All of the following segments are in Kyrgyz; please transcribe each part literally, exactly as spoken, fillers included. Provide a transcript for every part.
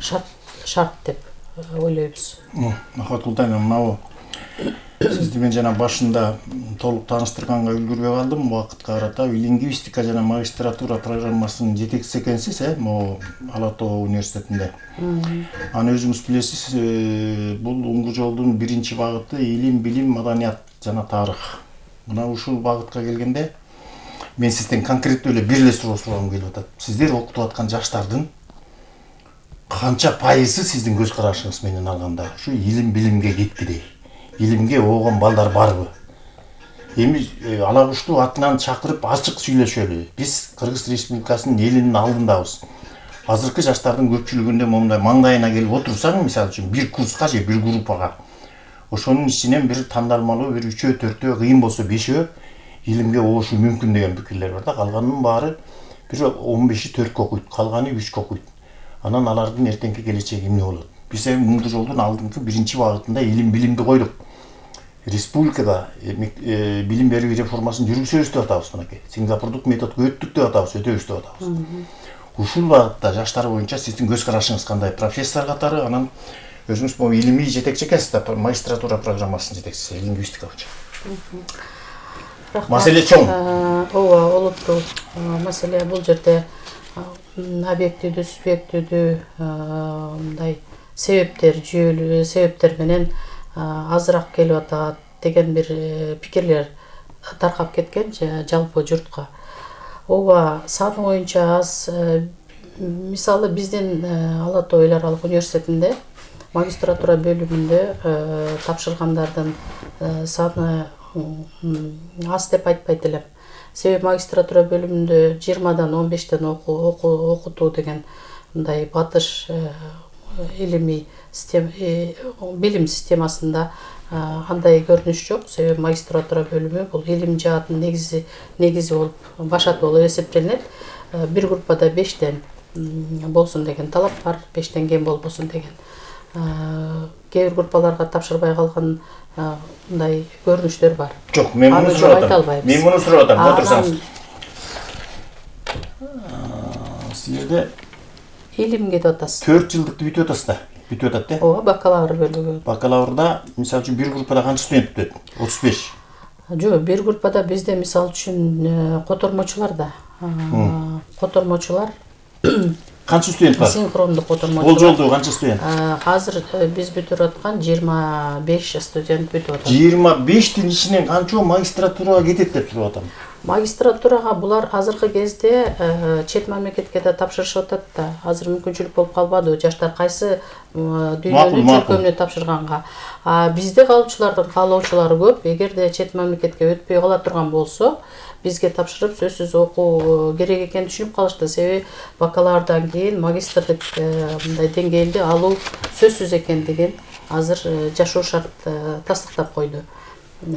шарт шарт деп ойлойбуз. Махабат Култайна, мынабу сизди мен жана башында толук тааныштырганга үлгүрбөй калдым. Убакытка карата лингвистика жана магистратура программасынын жетекчиси экенсиз, э, могу Ала Тоо университетинде. Аны өзүңүз билесиз, бул уңгу жолдун биринчи багыты илим, билим, маданият жана тарых. Мына ушул багытка келгенде мен сизден конкреттүү эле бир эле суроо сурагым келип атат. Сиздер окутуп аткан жаштардын канча пайызы сиздин көз карашыңыз менен алганда ушу илим, билимге кетти дейт. Илимге оогон балдар барбы? Эми ала кушту атынан чакырып ачык сүйлөшөлү. Биз Кыргыз Республикасынын элинин алдындабыз. Азыркы жаштардын көпчүлүгүндө момундай маңдайына келип отурсаң, мисалы үчүн бир курска же бир группага, ошонун ичинен бир тандалмалуу бир үчөө, төртөө, кыйын болсо бешөө илимге оошу мүмкүн деген пикирлер бар да. Калганынын баары бир он беши төрткө окуйт, калганы үчкө окуйт. Анан алардын эртеңки келечеги эмне болот? Биз эми уңгу жолдун алдыңкы биринчи багытында илим, билимди койдук. Республикада билим берүү реформасын жүргүзөбүз деп атабыз мынакей. Сингапурдук методго өттүк деп атабыз, өтөбүз деп атабыз. Ушул багытта жаштар боюнча сиздин көз карашыңыз кандай? Профессор катары, анан өзүңүз могу илимий жетекчи экенсиз да, магистратура программасынын жетекчиси, лингвистика боюнча. Маселе чоң. Ооба, олуттуу маселе. Бул жерде объективдүү, субъективдүү мындай себептер, жүйөлүү себептер менен азыраак келип атат деген бир пикирлер таркап кеткен жалпы журтка. Ооба, саны боюнча аз. Мисалы биздин Ала Тоо эл аралык университетинде магистратура бөлүмүндө тапшыргандардын саны аз деп айтпайт элем. Себеби магистратура бөлүмүндө жыйырмадан он бештен окутуу деген мындай батыш илимий билим системасында андай көрүнүш жок. Себеби магистратура бөлүмү бул илим жаатын негизи негизи болуп, башаты болуп эсептелинет. Бир группада бештен болсун деген талап бар, бештен кем болбосун деген. Кээ бир группаларга тапшырбай калган мындай көрүнүштөр бар. Жок, мен муну сурап атам. Мен муну сурап атам, отурсаңыз. Силерде илимге деп атасыз. төрт жылдыкты бүтүп атасыз да. Бүтүп атат да? Ооба, бакалавр бөлүгү. Бакалаврда, мисалы үчүн бир группада канча студент бүтөт? отуз беш. Жок, бир группада бизде мисалы үчүн котормочулар да. Котормочулар канча студент бар? Синхрондук котормочулар. Бул жолду канча студент? Азыр биз бүтүп аткан жыйырма беш студент бүтүп атат. жыйырма бештин ичинен канчоо магистратурага кетет деп сурап атам. Магистратурага булар азыркы кезде чет мамлекетке да тапшырышып атат да. Азыр мүмкүнчүлүк болуп калбады. Жаштар кайсы дүйнөнүн чөлкөмүнө тапшырганга. А бизде калуучулардын каалоочулары көп. Эгерде чет мамлекетке өтпөй кала турган болсо, бизге тапшырып сөзсүз окуу керек экенин түшүнүп калышты. Себеби бакалаврдан кийин магистрдык мындай деңгээлди алуу сөзсүз экендигин азыр жашоо шарт тастыктап койду.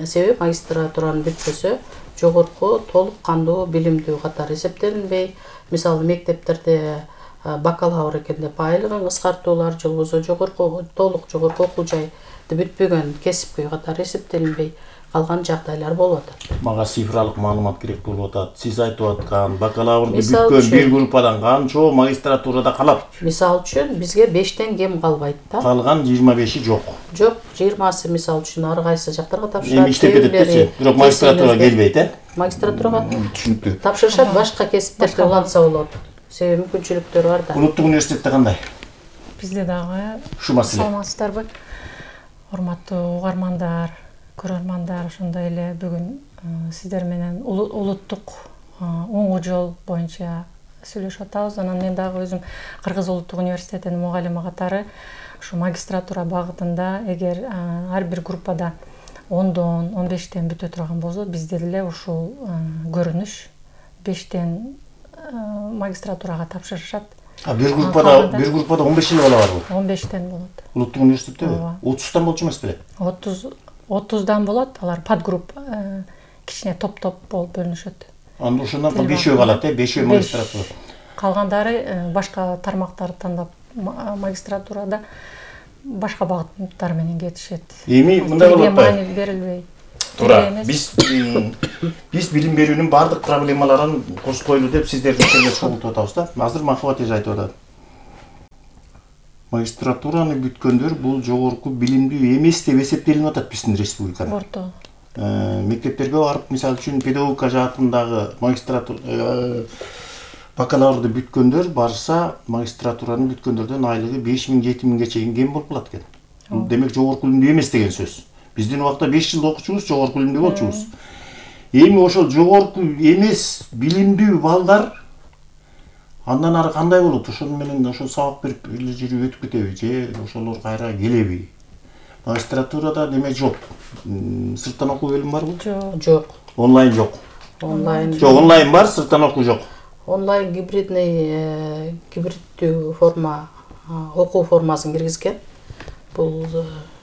Себеби магистратуранын бүтпөсө жогорку толук кандуу билимдүү катары эсептелинбей, мисалы мектептерде бакалавр экен деп айлыгын кыскартуулар же болбосо жогорку толук жогорку окуу жайды бүтпөгөн кесипкөй катары эсептелинбей калган жагдайлар болуп атат. Мага цифралык маалымат керек болуп атат. Сиз айтып аткан бакалаврды бүткөн бир группадан канчоо магистратурада калат? Мисалы үчүн бизге бештен кем калбайт да. Калган жыйырма беши жок. Жок, жыйырмасы мисалы үчүн ар кайсы жактарга тапшырат. Эми иштеп кетет, бирок магистратурага келбейт, э? Магистратурага түшүнүктүү. Тапшырышат, башка кесиптерде улантса болот. Себеби мүмкүнчүлүктөр бар да. Улуттук университетте кандай? Бизде дагы ушу маселе. Саламатсыздарбы? Урматтуу угармандар, көрөрмандар, ошондой эле бүгүн сиздер менен улуттук уңгу жол боюнча сүйлөшүп атабыз. Анан мен дагы өзүм Кыргыз улуттук университетинин мугалими катары ушу магистратура багытында эгер ар бир группада ондон он бештен бүтө турган болсо, бизде деле ушул көрүнүш бештен магистратурага тапшырышат. А бир группада бир группада он беш эле бала барбы? он бештен болот. Улуттук университеттеби? отуздан болчу эмес беле? отуз отуздан болот. Алар подгрупп кичине топ-топ болуп бөлүнүшөт. Анда ошондон кийин бешөө калат, э? Бешөө магистратура. Калгандары башка тармактарды тандап магистратурада башка багыттар менен кетишет. Эми мындай болуп атпайбы? Маани берилбей. Туура. Биз биз билим берүүнүн бардык проблемаларын кошкойлу деп сиздерди чогултуп атабыз да. Азыр Махабат эже айтып атат. магистратураны бүткөндөр бул жогорку билимдүү эмес деп эсептелип атат биздин республикада. Орто. Мектептерге барып, мисалы үчүн педагогика жаатындагы магистратура бакалаврды бүткөндөр барса, магистратураны бүткөндөрдөн айлыгы беш миң жети миңге чейин кем болуп калат экен. Бул демек жогорку билимдүү эмес деген сөз. Биздин убакта беш жыл окучубуз, жогорку билимдүү болчубуз. Эми ошол жогорку эмес билимдүү балдар андан ары кандай болот? Ошол менен ошол сабак берип эле жүрүп өтүп кетеби же ошолор кайра келеби? Магистратурада неме жок. Сырттан окуу бөлүмү барбы? Жок. Жок. Онлайн жок. Онлайн. Жок, онлайн бар, сырттан окуу жок. Онлайн гибридный гибриддүү форма окуу формасын киргизген. Бул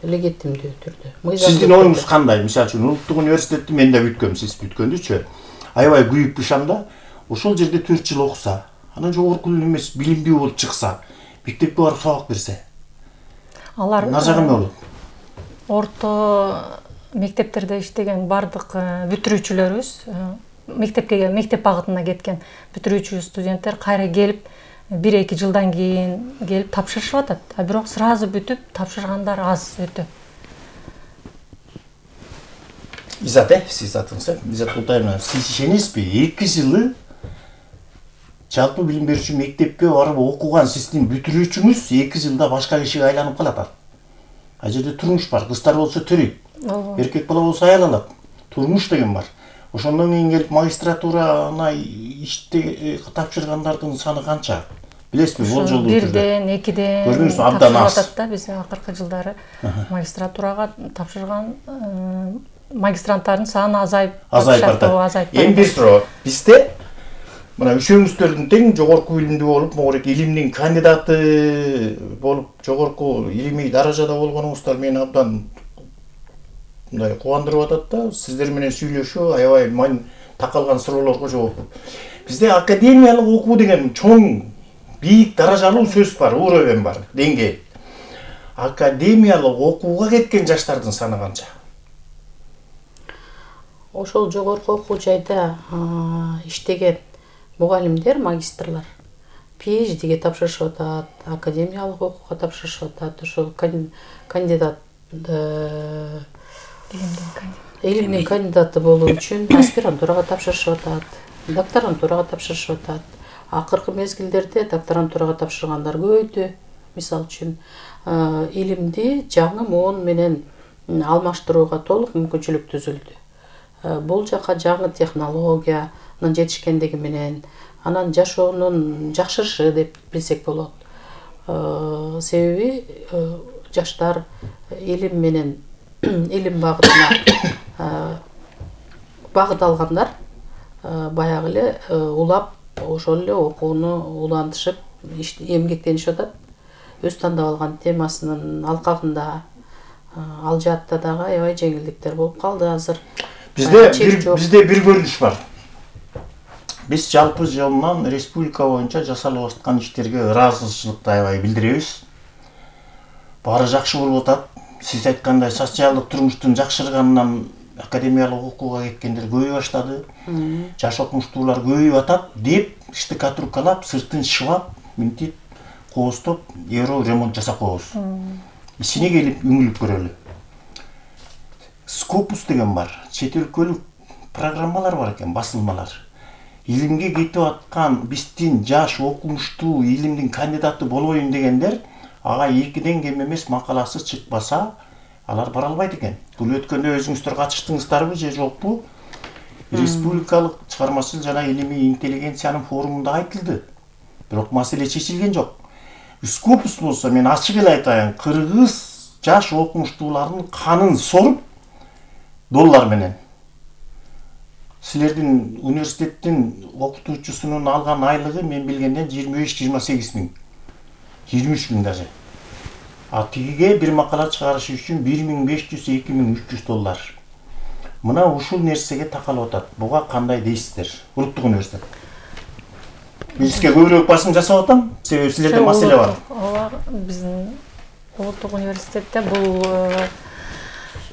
легитимдүү түрдө. Сиздин оюңуз кандай? Мисалы үчүн улуттук университетти мен да бүткөм, сиз бүткөндүчү. Аябай күйүп бышам да, ошол жерде төрт жыл окуса, анан жогорку эмес билимдүү болуп чыкса, мектепке барып сабак берсе. Алар Нажагы эмне болот? Орто мектептерде иштеген бардык бүтүрүүчүлөрүбүз, мектепке мектеп багытына кеткен бүтүрүүчү студенттер кайра келип бир эки жылдан кийин келип тапшырышып атат. А бирок сразу бүтүп тапшыргандар аз өтө. Изат, э, сиз атыңыз, Изат Култаевна, сиз ишенесизби? эки жылы жалпы билим берүүчү мектепке барып окуган сиздин бүтүрүүчүңүз эки жылда башка кишиге айланып калат. А жерде турмуш бар, кыздар болсо төрөйт. Эркек бала болсо аял алат. Турмуш деген бар. Ошондон кийин келип магистратураны иште тапшыргандардын саны канча? Билесизби, болжолдуу түрдө? Бирден, экиден көрдүңүзбү, абдан аз. атат да, биз акыркы жылдары магистратурага тапшырган магистранттардын саны азайып азайып атат. Эми бир суроо, бизде мына үчөөңүздөрдүн тең жогорку билимдүү болуп, могорек илимдин кандидаты болуп, жогорку илимий даражада болгонуңуздар мени абдан мындай кубандырып атат да. Сиздер менен сүйлөшүү аябай мен такалган суроолорго жооп. Бизде академиялык окуу деген чоң, бийик даражалуу сөз бар, уровень бар, деңгей. Академиялык окууга кеткен жаштардын саны канча? Ошол жогорку окуу жайда иштеген мугалимдер, магистрлар PhD'ге тапшырышып атат, академиялык окууга тапшырышып атат, ошол кандидат илимдин кандидаты болуу үчүн аспирантурага тапшырышып атат, докторантурага тапшырышып атат. Акыркы мезгилдерде докторантурага тапшыргандар көбөйдү. Мисалы үчүн, илимди жаңы моон менен алмаштырууга толук мүмкүнчүлүк түзүлдү. Бул жака жаңы технологиянын жетишкендиги менен, анан жашоонун жакшырышы деп билсек болот. Себеби жаштар илим менен илим багытына багыт алгандар баягы эле улап ошол эле окууну улантышып эмгектенишип атат. Өз тандап алган темасынын алкагында ал жаатта дагы аябай жеңилдиктер болуп калды азыр. Бизде бир бизде бир көрүнүш бар. Биз жалпы жолунан республика боюнча жасалып аткан иштерге ыраазычылыкты аябай билдиребиз. Баары жакшы болуп атат. Сиз айткандай социалдык турмуштун жакшырганынан академиялык окууга кеткендер көбөй баштады. Жаш окумуштуулар көбөйүп атат деп штукатуркалап, сыртын шыбап, мынтип кооздоп, евро ремонт жасап коебуз. Ичине келип үңүлүп көрөлү. Scopus деген бар. Чет өлкөлүк программалар бар экен, басылмалар. Илимге кетип аткан биздин жаш окумуштуу илимдин кандидаты болоюн дегендер ага экиден кем эмес макаласы чыкпаса, алар бара албайт экен. Бул өткөндө өзүңүздөр катыштыңыздарбы же жокпу? Республикалык чыгармачыл жана илимий интеллигенциянын форумунда айтылды. Бирок маселе чечилген жок. Scopus болсо мен ачык эле айтайын, кыргыз жаш окумуштуулардын канын соруп доллар менен. Силердин университеттин окутуучусунун алган айлыгы мен билгенден жыйырма беш жыйырма сегиз миң. жыйырма үч миң даже. А тигиге бир макала чыгарыш үчүн бир миң беш жүз эки миң үч жүз доллар. Мына ушул нерсеге такалып атат. Буга кандай дейсиздер? Улуттук университет. Бизге көбүрөөк басым жасап атам, себеби силерде маселе бар. Ооба, биздин улуттук университетте бул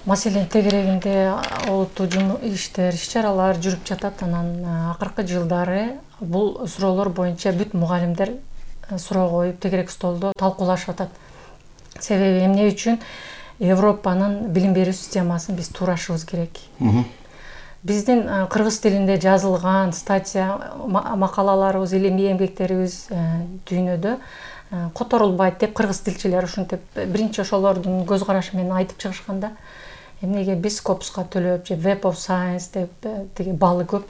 маселенин тегерегинде олуттуу иштер, иш-чаралар жүрүп жатат. Анан акыркы жылдары бул суроолор боюнча бүт мугалимдер суроо коюп, тегерек столдо талкуулашып атат. Себеби эмне үчүн Европанын билим берүү системасын биз туурашыбыз керек. Биздин кыргыз тилинде жазылган статья, макалаларыбыз, илимий эмгектерибиз дүйнөдө которулбайт деп кыргыз тилчилер ушинтип биринчи ошолордун көз карашы менен айтып чыгышканда, эмнеге биз Scopus'ка төлөп же Web of Science деп тиги балы көп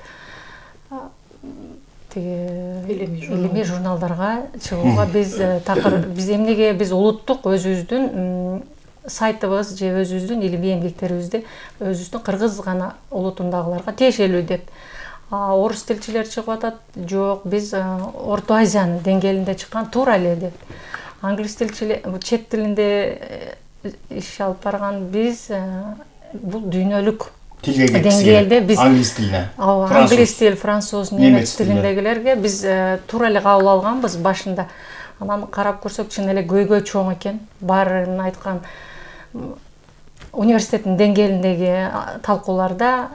илимий журналдарга чыгууга биз такыр биз эмнеге биз улуттук өзүбүздүн сайтыбыз же өзүбүздүн илимий эмгектерибизди өзүбүздүн кыргыз гана улутундагыларга тиешелүү деп. Орус тилчилер чыгып атат, жок, биз Орто Азиянын деңгээлинде чыккан туура эле деп. Англис тилчилер чет тилинде иш алып барган биз бул дүйнөлүк деңгээлде биз англис тилине, англис тил, француз, немец тилиндегилерге биз туура эле кабыл алганбыз башында. Анан карап көрсөк чын эле көйгөй чоң экен. Баарын айткан университеттин деңгээлиндеги талкууларда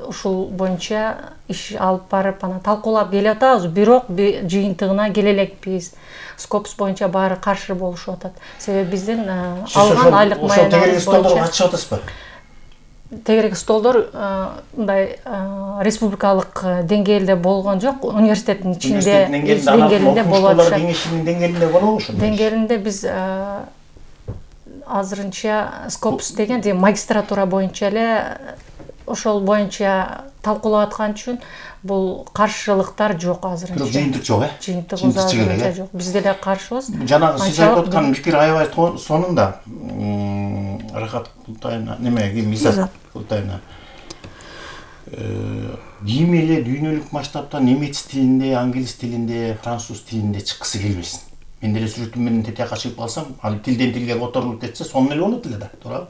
ушул боюнча иш алып барып анан талкуулап келе атабыз, бирок жыйынтыгына келе элекпиз. Scopus боюнча баары каршы болушуп атат. Себеби биздин алган айлык маянабыз боюнча катышып атасызбы? Тегерек столдор мындай республикалык деңгээлде болгон жок, университеттин ичинде деңгээлинде болот. Окумуштуулар кеңешинин деңгээлинде болобу ошо? Деңгээлинде биз азырынча Scopus деген магистратура боюнча эле ошол боюнча талкуулап аткан үчүн бул каршылыктар жок азырынча. Бирок жыйынтык жок, э? Жыйынтык азырынча жок. Биз деле каршыбыз. Жанагы сиз айтып аткан пикир аябай сонунда Рахат Култайна, неме, Мизат Култайна ким эле дүйнөлүк масштабта немец тилинде, англис тилинде, француз тилинде чыккысы келбесин. Мен деле сүрөтүм менен тетиякка чыгып калсам, ал тилден тилге которулуп кетсе, сонун эле болот эле да, туурабы?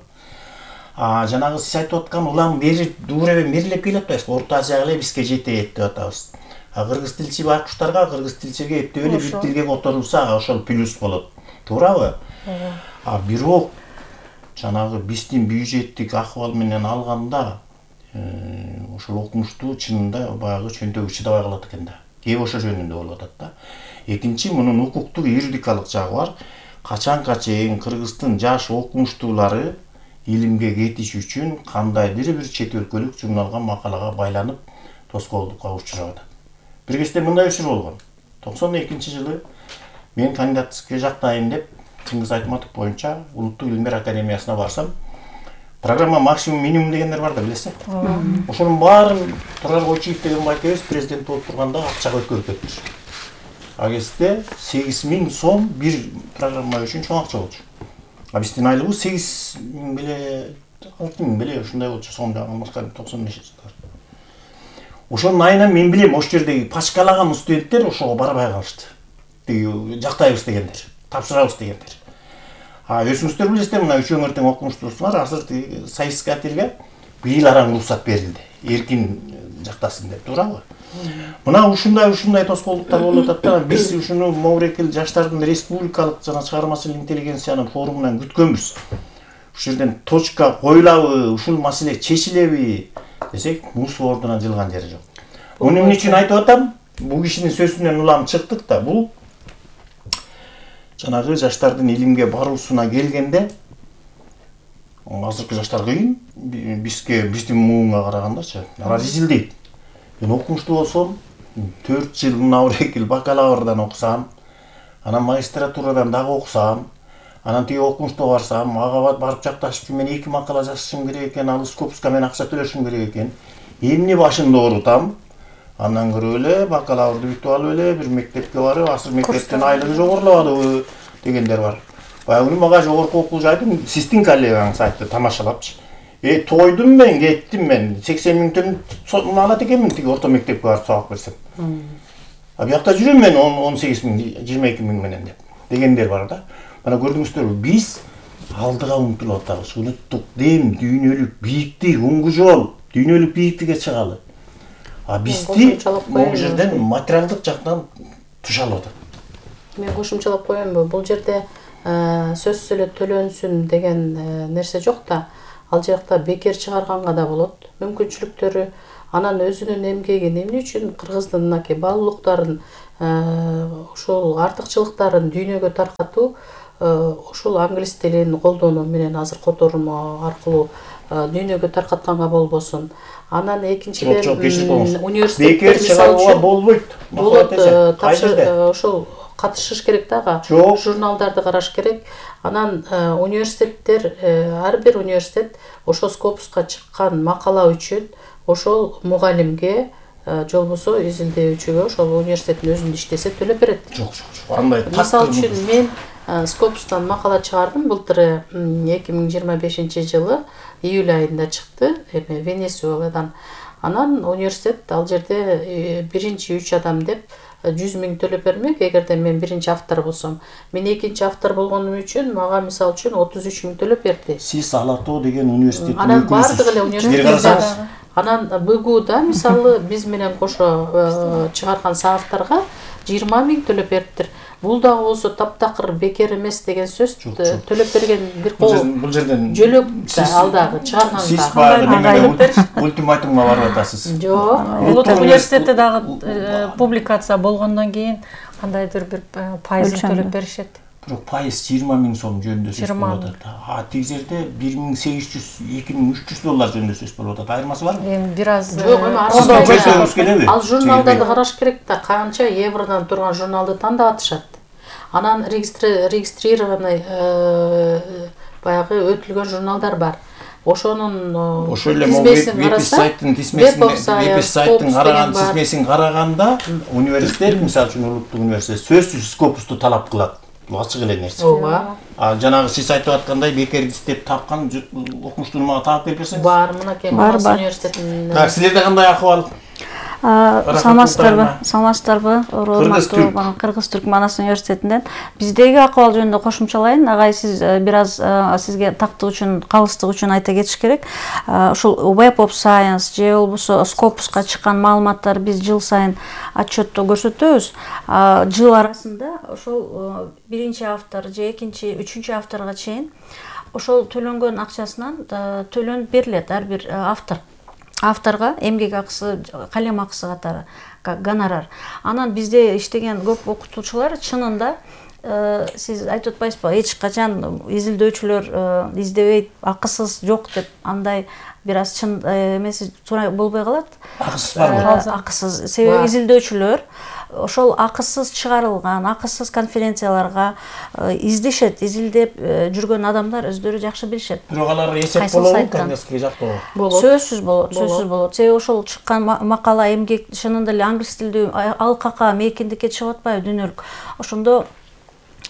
А жанагы сиз айтып аткан улам бери дууребен берилип келип атпайсызбы? Орто Азияга эле бизге жетет деп атабыз. А кыргыз тилчи байкуштарга, кыргыз тилчиге эптеп эле бир тилге которулса, ошол плюс болот. Туурабы? А бирок жанагы биздин бюджеттик акыбал менен алганда, ошол окумуштуу чынында баягы чөнтөгү чыдабай калат экен да. Кеп ошо жөнүндө болуп атат да. Экинчи, мунун укуктук, юридикалык жагы бар. Качанга чейин кыргыздын жаш окумуштуулары илимге кетиш үчүн кандайдыр бир чет өлкөлүк журналга, макалага байланып тоскоолдукка учурап атат. Бир кезде мындай учур болгон. токсон экинчи жылы мен кандидатскийге жактайын деп Чыңгыз Айтматов боюнча Улуттук илимдер академиясына барсам, программа максимум минимум дегендер бар да, билесиз? Ошонун баарын Турар Койчиев деген байкебиз президент болуп турганда акчага өткөрүп кетиптир. А кезде сегиз миң сом бир программа үчүн чоң акча болчу. А биздин айлыгыбыз сегиз миң беле, алты миң беле ушундай болчу, сом жагылмаска токсон бешинчи жылдары. Ошонун айынан мен билем, ошол жердеги пачкалаган студенттер ошого барбай калышты. Тиги жактайбыз дегендер, тапшырабыз дегендер. А өзүңүздөр билесиздер, мына үчөө эртең окумуштуусуңар, азыр тиги соискателге быйыл араң уруксат берилди. Эркин жактасын деп, туурабы? Мына ушундай ушундай тоскоолдуктар болуп атат да, биз ушуну Моврекил жаштардын республикалык жана чыгармачыл интеллигенциянын форумунан күткөнбүз. Ушул жерден точка коюлабы, ушул маселе чечилеби десек, мус ордуна жылган жери жок. Муну эмне үчүн айтып атам? Бул кишинин сөзүнөн улам чыктык да, бул жанагы жаштардын илимге баруусуна келгенде азыркы жаштар кыйын, бизге биздин муунга карагандачы, алар изилдейт. Мен окумуштуу болсом, төрт жыл Маврекил бакалаврдан окусам, анан магистратурадан дагы окусам, анан тиги окумуштууга барсам, ага барып жакташып, мен эки макала жазышым керек экен, ал Scopus'ка мен акча төлөшүм керек экен. Эмне башымды оорутам? Андан көрө эле бакалаврды бүтүп алып эле бир мектепке барып, азыр мектептен айлыгы жогорулабадыбы дегендер бар. Баягы мага жогорку окуу жайдын сиздин коллегаңыз айтты, тамашалапчы. Э, тойдум мен, кеттим мен. сексен миң төгүн алат экенмин тиги орто мектепке барып сабак берсем. А биякта жүрөм мен он сегиз миң, жыйырма эки миң менен деп. Дегендер бар да. Мана көрдүңүздөрбү, биз алдыга умтулуп атабыз. Улуттук дем, дүйнөлүк бийиктик, уңгу жол, дүйнөлүк бийиктикке чыгалы. А бизди бул жерден материалдык жактан тушалып атат. Мен кошумчалап коеюнбу, бул жерде сөзсүз эле төлөнсүн деген нерсе жок да. Ал жакта бекер чыгарганга да болот мүмкүнчүлүктөрү. Анан өзүнүн эмгегин эмне үчүн кыргыздын мынакей баалуулуктарын, ушул артыкчылыктарын дүйнөгө таркатуу ушул англис тилин колдонуу менен азыр котормо аркылуу дүйнөгө таркатканга болбосун. Анан экинчиден университеттер мисалы үчүн болбойт. болот, ошол катышыш керек дагы. Журналдарды караш керек. Анан университеттер, ар бир университет ошол Скопуска чыккан макала үчүн ошол мугалимге же болбосо изилдөөчүгө ошол университеттин өзүндө иштесе төлөп берет. Жок, жок, жок. Андай так. Мисалы үчүн мен Скопустан макала чыгардым былтыр эки миң жыйырма бешинчи жылы июль айында чыкты, эме Венесуэладан. Анан университет ал жерде биринчи үч адам деп жүз миң төлөп бермек, эгерде мен биринчи автор болсом. Мен экинчи автор болгонум үчүн мага мисалы үчүн отуз үч миң төлөп берди. Сиз Алатоо деген университеттин Анан бардык эле университеттер. Анан БГУда мисалы биз менен кошо чыгарган соавторго жыйырма миң төлөп бериптир. Бул дагы болсо таптакыр бекер эмес деген сөз. Төлөп берген бир кол. Бул жерден жөлөк ал дагы чыгарганга. Сиз баягы неме ультиматумга барып атасыз. Жок. Улуттук университетте дагы публикация болгондон кийин кандайдыр бир пайызын төлөп беришет. Бирок пайыз жыйырма миң сом жөнүндө сөз болуп атат. А тиги жерде бир миң сегиз жүз, эки миң үч жүз доллар жөнүндө сөз болуп атат. Айырмасы барбы? Эми бир аз жок, эми ал журналдарды караш керек да, канча евродон турган журналды тандап атышат. Анан регистрированный баягы өтүлгөн журналдар бар. Ошонун ошол эле веб-сайттын тизмесин веб-сайттын караган тизмесин караганда университет, мисалы үчүн улуттук университет сөзсүз Скопусту талап кылат. Бул ачык эле нерсе. Ооба. А жанагы сиз айтып аткандай бекер издеп тапкан окумуштууну мага таап берип берсеңиз. Бар, мынакей Марс университетинин. Так, силерде кандай акыбал? Саламатсыздарбы? Саламатсыздарбы? Урматтуу Кыргыз Түрк Манас университетинен. Биздеги акыбал жөнүндө кошумчалайын. Агай, сиз бир аз сизге тактык үчүн, калыстык үчүн айта кетиш керек. Ушул Web of Science же болбосо Scopus'ка чыккан маалыматтар биз жыл сайын отчетто көрсөтөбүз. Жыл арасында ошол биринчи автор же экинчи, үчүнчү авторго чейин ошол төлөнгөн акчасынан төлөнүп берилет ар бир автор. Авторга эмгек акысы, калем акысы катары гонорар. Анан бизде иштеген көп окутуучулар чынында сиз айтып атпайсызбы, эч качан изилдөөчүлөр издебейт, акысыз жок деп, андай бир аз чын эмеси туура болбой калат. Акысыз барбы? Акысыз. Себеби изилдөөчүлөр ошол акысыз чыгарылган, акысыз конференцияларга издешет, изилдеп жүргөн адамдар өздөрү жакшы билишет. Бирок алар эсеп болобу, кандайсызга жактоо? Сөзсүз болот, сөзсүз болот. Себеби ошол чыккан макала эмгек чынында эле англис тилдүү алкакка, мейкиндикке чыгып атпайбы дүйнөлүк. Ошондо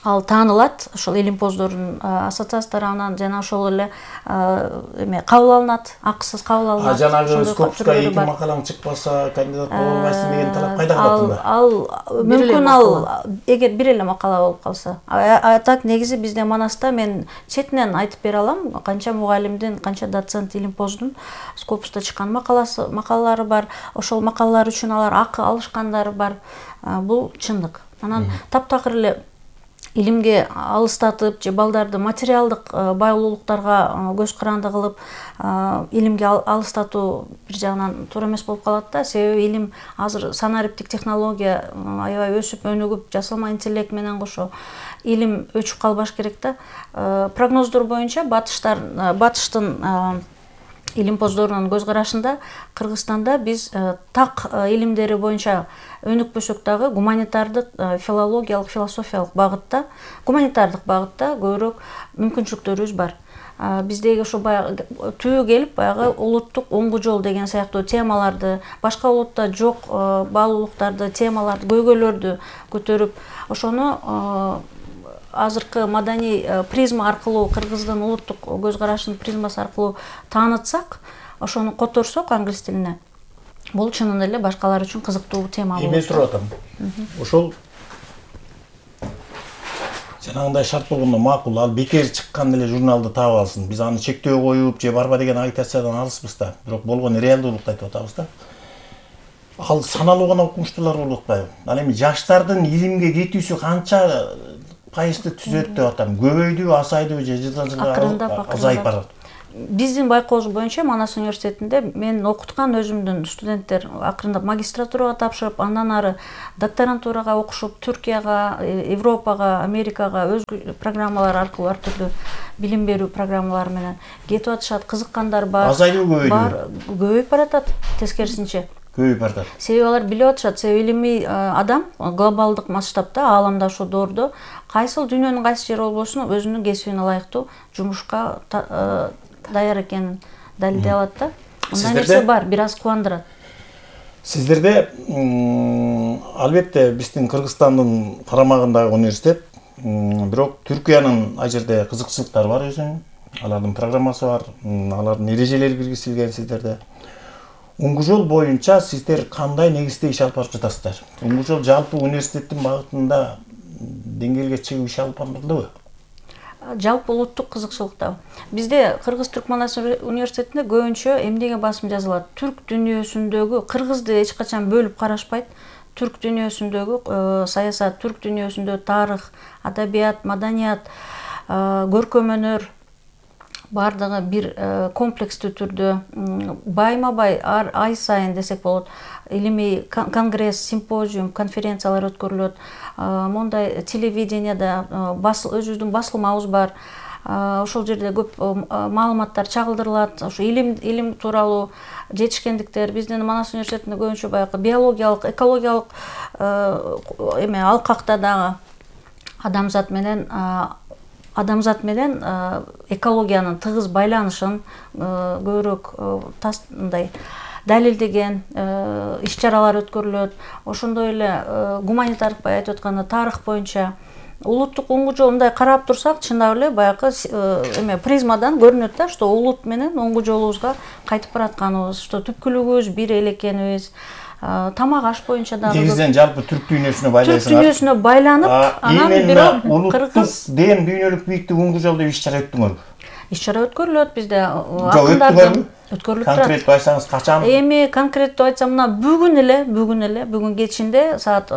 ал таанылат, ошол илимпоздордун ассоциациясы тарабынан жана ошол эле эме кабыл алынат, акысыз кабыл алынат. А жанагы Скопуска эки макалаң чыкпаса, кандидат боло албайсың деген талап кайда калат? Ал мүмкүн ал эгер бир эле макала болуп калса. А так негизи бизде Манаста мен четинен айтып бере алам, канча мугалимдин, канча доцент илимпоздун Скопуста чыккан макаласы, макалалары бар. Ошол макалалар үчүн алар акы алышкандары бар. Бул чындык. Анан таптакыр эле илимге алыстатып же балдарды материалдык байлуулуктарга көз каранды кылып илимге алыстатуу бир жагынан туура эмес болуп калат да. Себеби илим азыр санариптик технология аябай өсүп өнүгүп, жасалма интеллект менен кошо илим өчүп калбаш керек да. Прогноздор боюнча батыштар батыштын илимпоздорунун көз карашында Кыргызстанда биз так илимдери боюнча өнүкпөсөк дагы гуманитардык, филологиялык, философиялык багытта, гуманитардык багытта көбүрөөк мүмкүнчүлүктөрүбүз бар. Биздеги ошо баягы түбү келип, баягы улуттук оңгу жол деген сыяктуу темаларды, башка улутта жок баалуулуктарды, темаларды, көйгөйлөрдү көтөрүп, ошону азыркы маданий призма аркылуу, Кыргыздын улуттук көз карашынын призмасы аркылуу таанытсак, ошону которсок англис тилине, бул чынында эле башкалар үчүн кызыктуу тема болот. Эме сурап атам. Ошол жанагындай шарт болгондо макул, ал бекер чыккан эле журналды таап алсын. Биз аны чектөө коюп же барба деген агитациядан алыспыз да. Бирок болгон реалдуулукту айтып атабыз да. Ал саналуу гана окумуштуулар болуп атпайбы? Ал эми жаштардын илимге кетүүсү канча пайызды түзөт деп атам. Көбөйдүбү, азайдыбы же жылдан жылга азайып барат? биздин байкообуз боюнча Манас университетинде мен окуткан өзүмдүн студенттер акырындап магистратурага тапшырып, андан ары докторантурага окушуп, Түркияга, Европага, Америкага өзгө программалар аркылуу ар түрдүү билим берүү программалары менен кетип атышат, кызыккандар бар. Азайдыбы, көбөйдүбү? Бар, көбөйүп баратат, тескерисинче. Көбөйүп баратат. Себеби алар билип атышат, себеби илимий адам глобалдык масштабта, ааламда ушул доордо кайсыл дүйнөнүн кайсы жери болбосун өзүнүн кесибине ылайыктуу жумушка даяр экенин далилдей алат да. Мындай нерсе бар, бир аз кубандырат. Сиздерде албетте биздин Кыргызстандын карамагындагы университет, бирок Түркиянын ал жерде кызыкчылыктары бар өзүнүн. Алардын программасы бар, алардын эрежелери киргизилген сиздерде. Уңгу жол боюнча сиздер кандай негизде иш алып барып жатасыздар? Уңгу жол жалпы университеттин багытында деңгээлге чыгып иш алып барылдыбы? Жалпы улуттук кызыкчылыкта. Бизде Кыргыз-Түрк Манас университетинде көбүнчө эмнеге басым жазылат? Түрк дүйнөсүндөгү, кыргызды эч качан бөлүп карашпайт. Түрк дүйнөсүндөгү саясат, түрк дүйнөсүндөгү тарых, адабият, маданият, көркөм өнөр бардыгы бир комплекстүү түрдө байма-бай ай сайын десек болот, илимий конгресс, симпозиум, конференциялар өткөрүлөт. Мондай телевиденияда өзүбүздүн басылмабыз бар. Ошол жерде көп маалыматтар чагылдырылат. Ошо илим илим тууралуу жетишкендиктер биздин Манас университетинде көбүнчө баягы биологиялык, экологиялык эме алкакта дагы адамзат менен адамзат менен экологиянын тыгыз байланышын көбүрөөк мындай далилдеген иш-чаралар өткөрүлөт. Ошондой эле гуманитардык бай айтып атканда тарых боюнча улуттук уңгу жол мындай карап турсак, чындап эле баягы эме призмадан көрүнөт да, что улут менен уңгу жолубузга кайтып баратканыбыз, что түпкүлүгүбүз бир эле экенибиз. Тамак аш боюнча дагы негизден жалпы түрк дүйнөсүнө байлайсыңар. Түрк дүйнөсүнө байланып, анан бирок улуттук ден дүйнөлүк бийиктик уңгу жол деп иш-чара өттүңөрбү? Иш-чара өткөрүлөт бизде. Акындардын өткөрүлүп турат. Конкреттүү айтсаңыз качан? Эми конкреттүү айтсам, мына бүгүн эле, бүгүн эле, бүгүн кечинде саат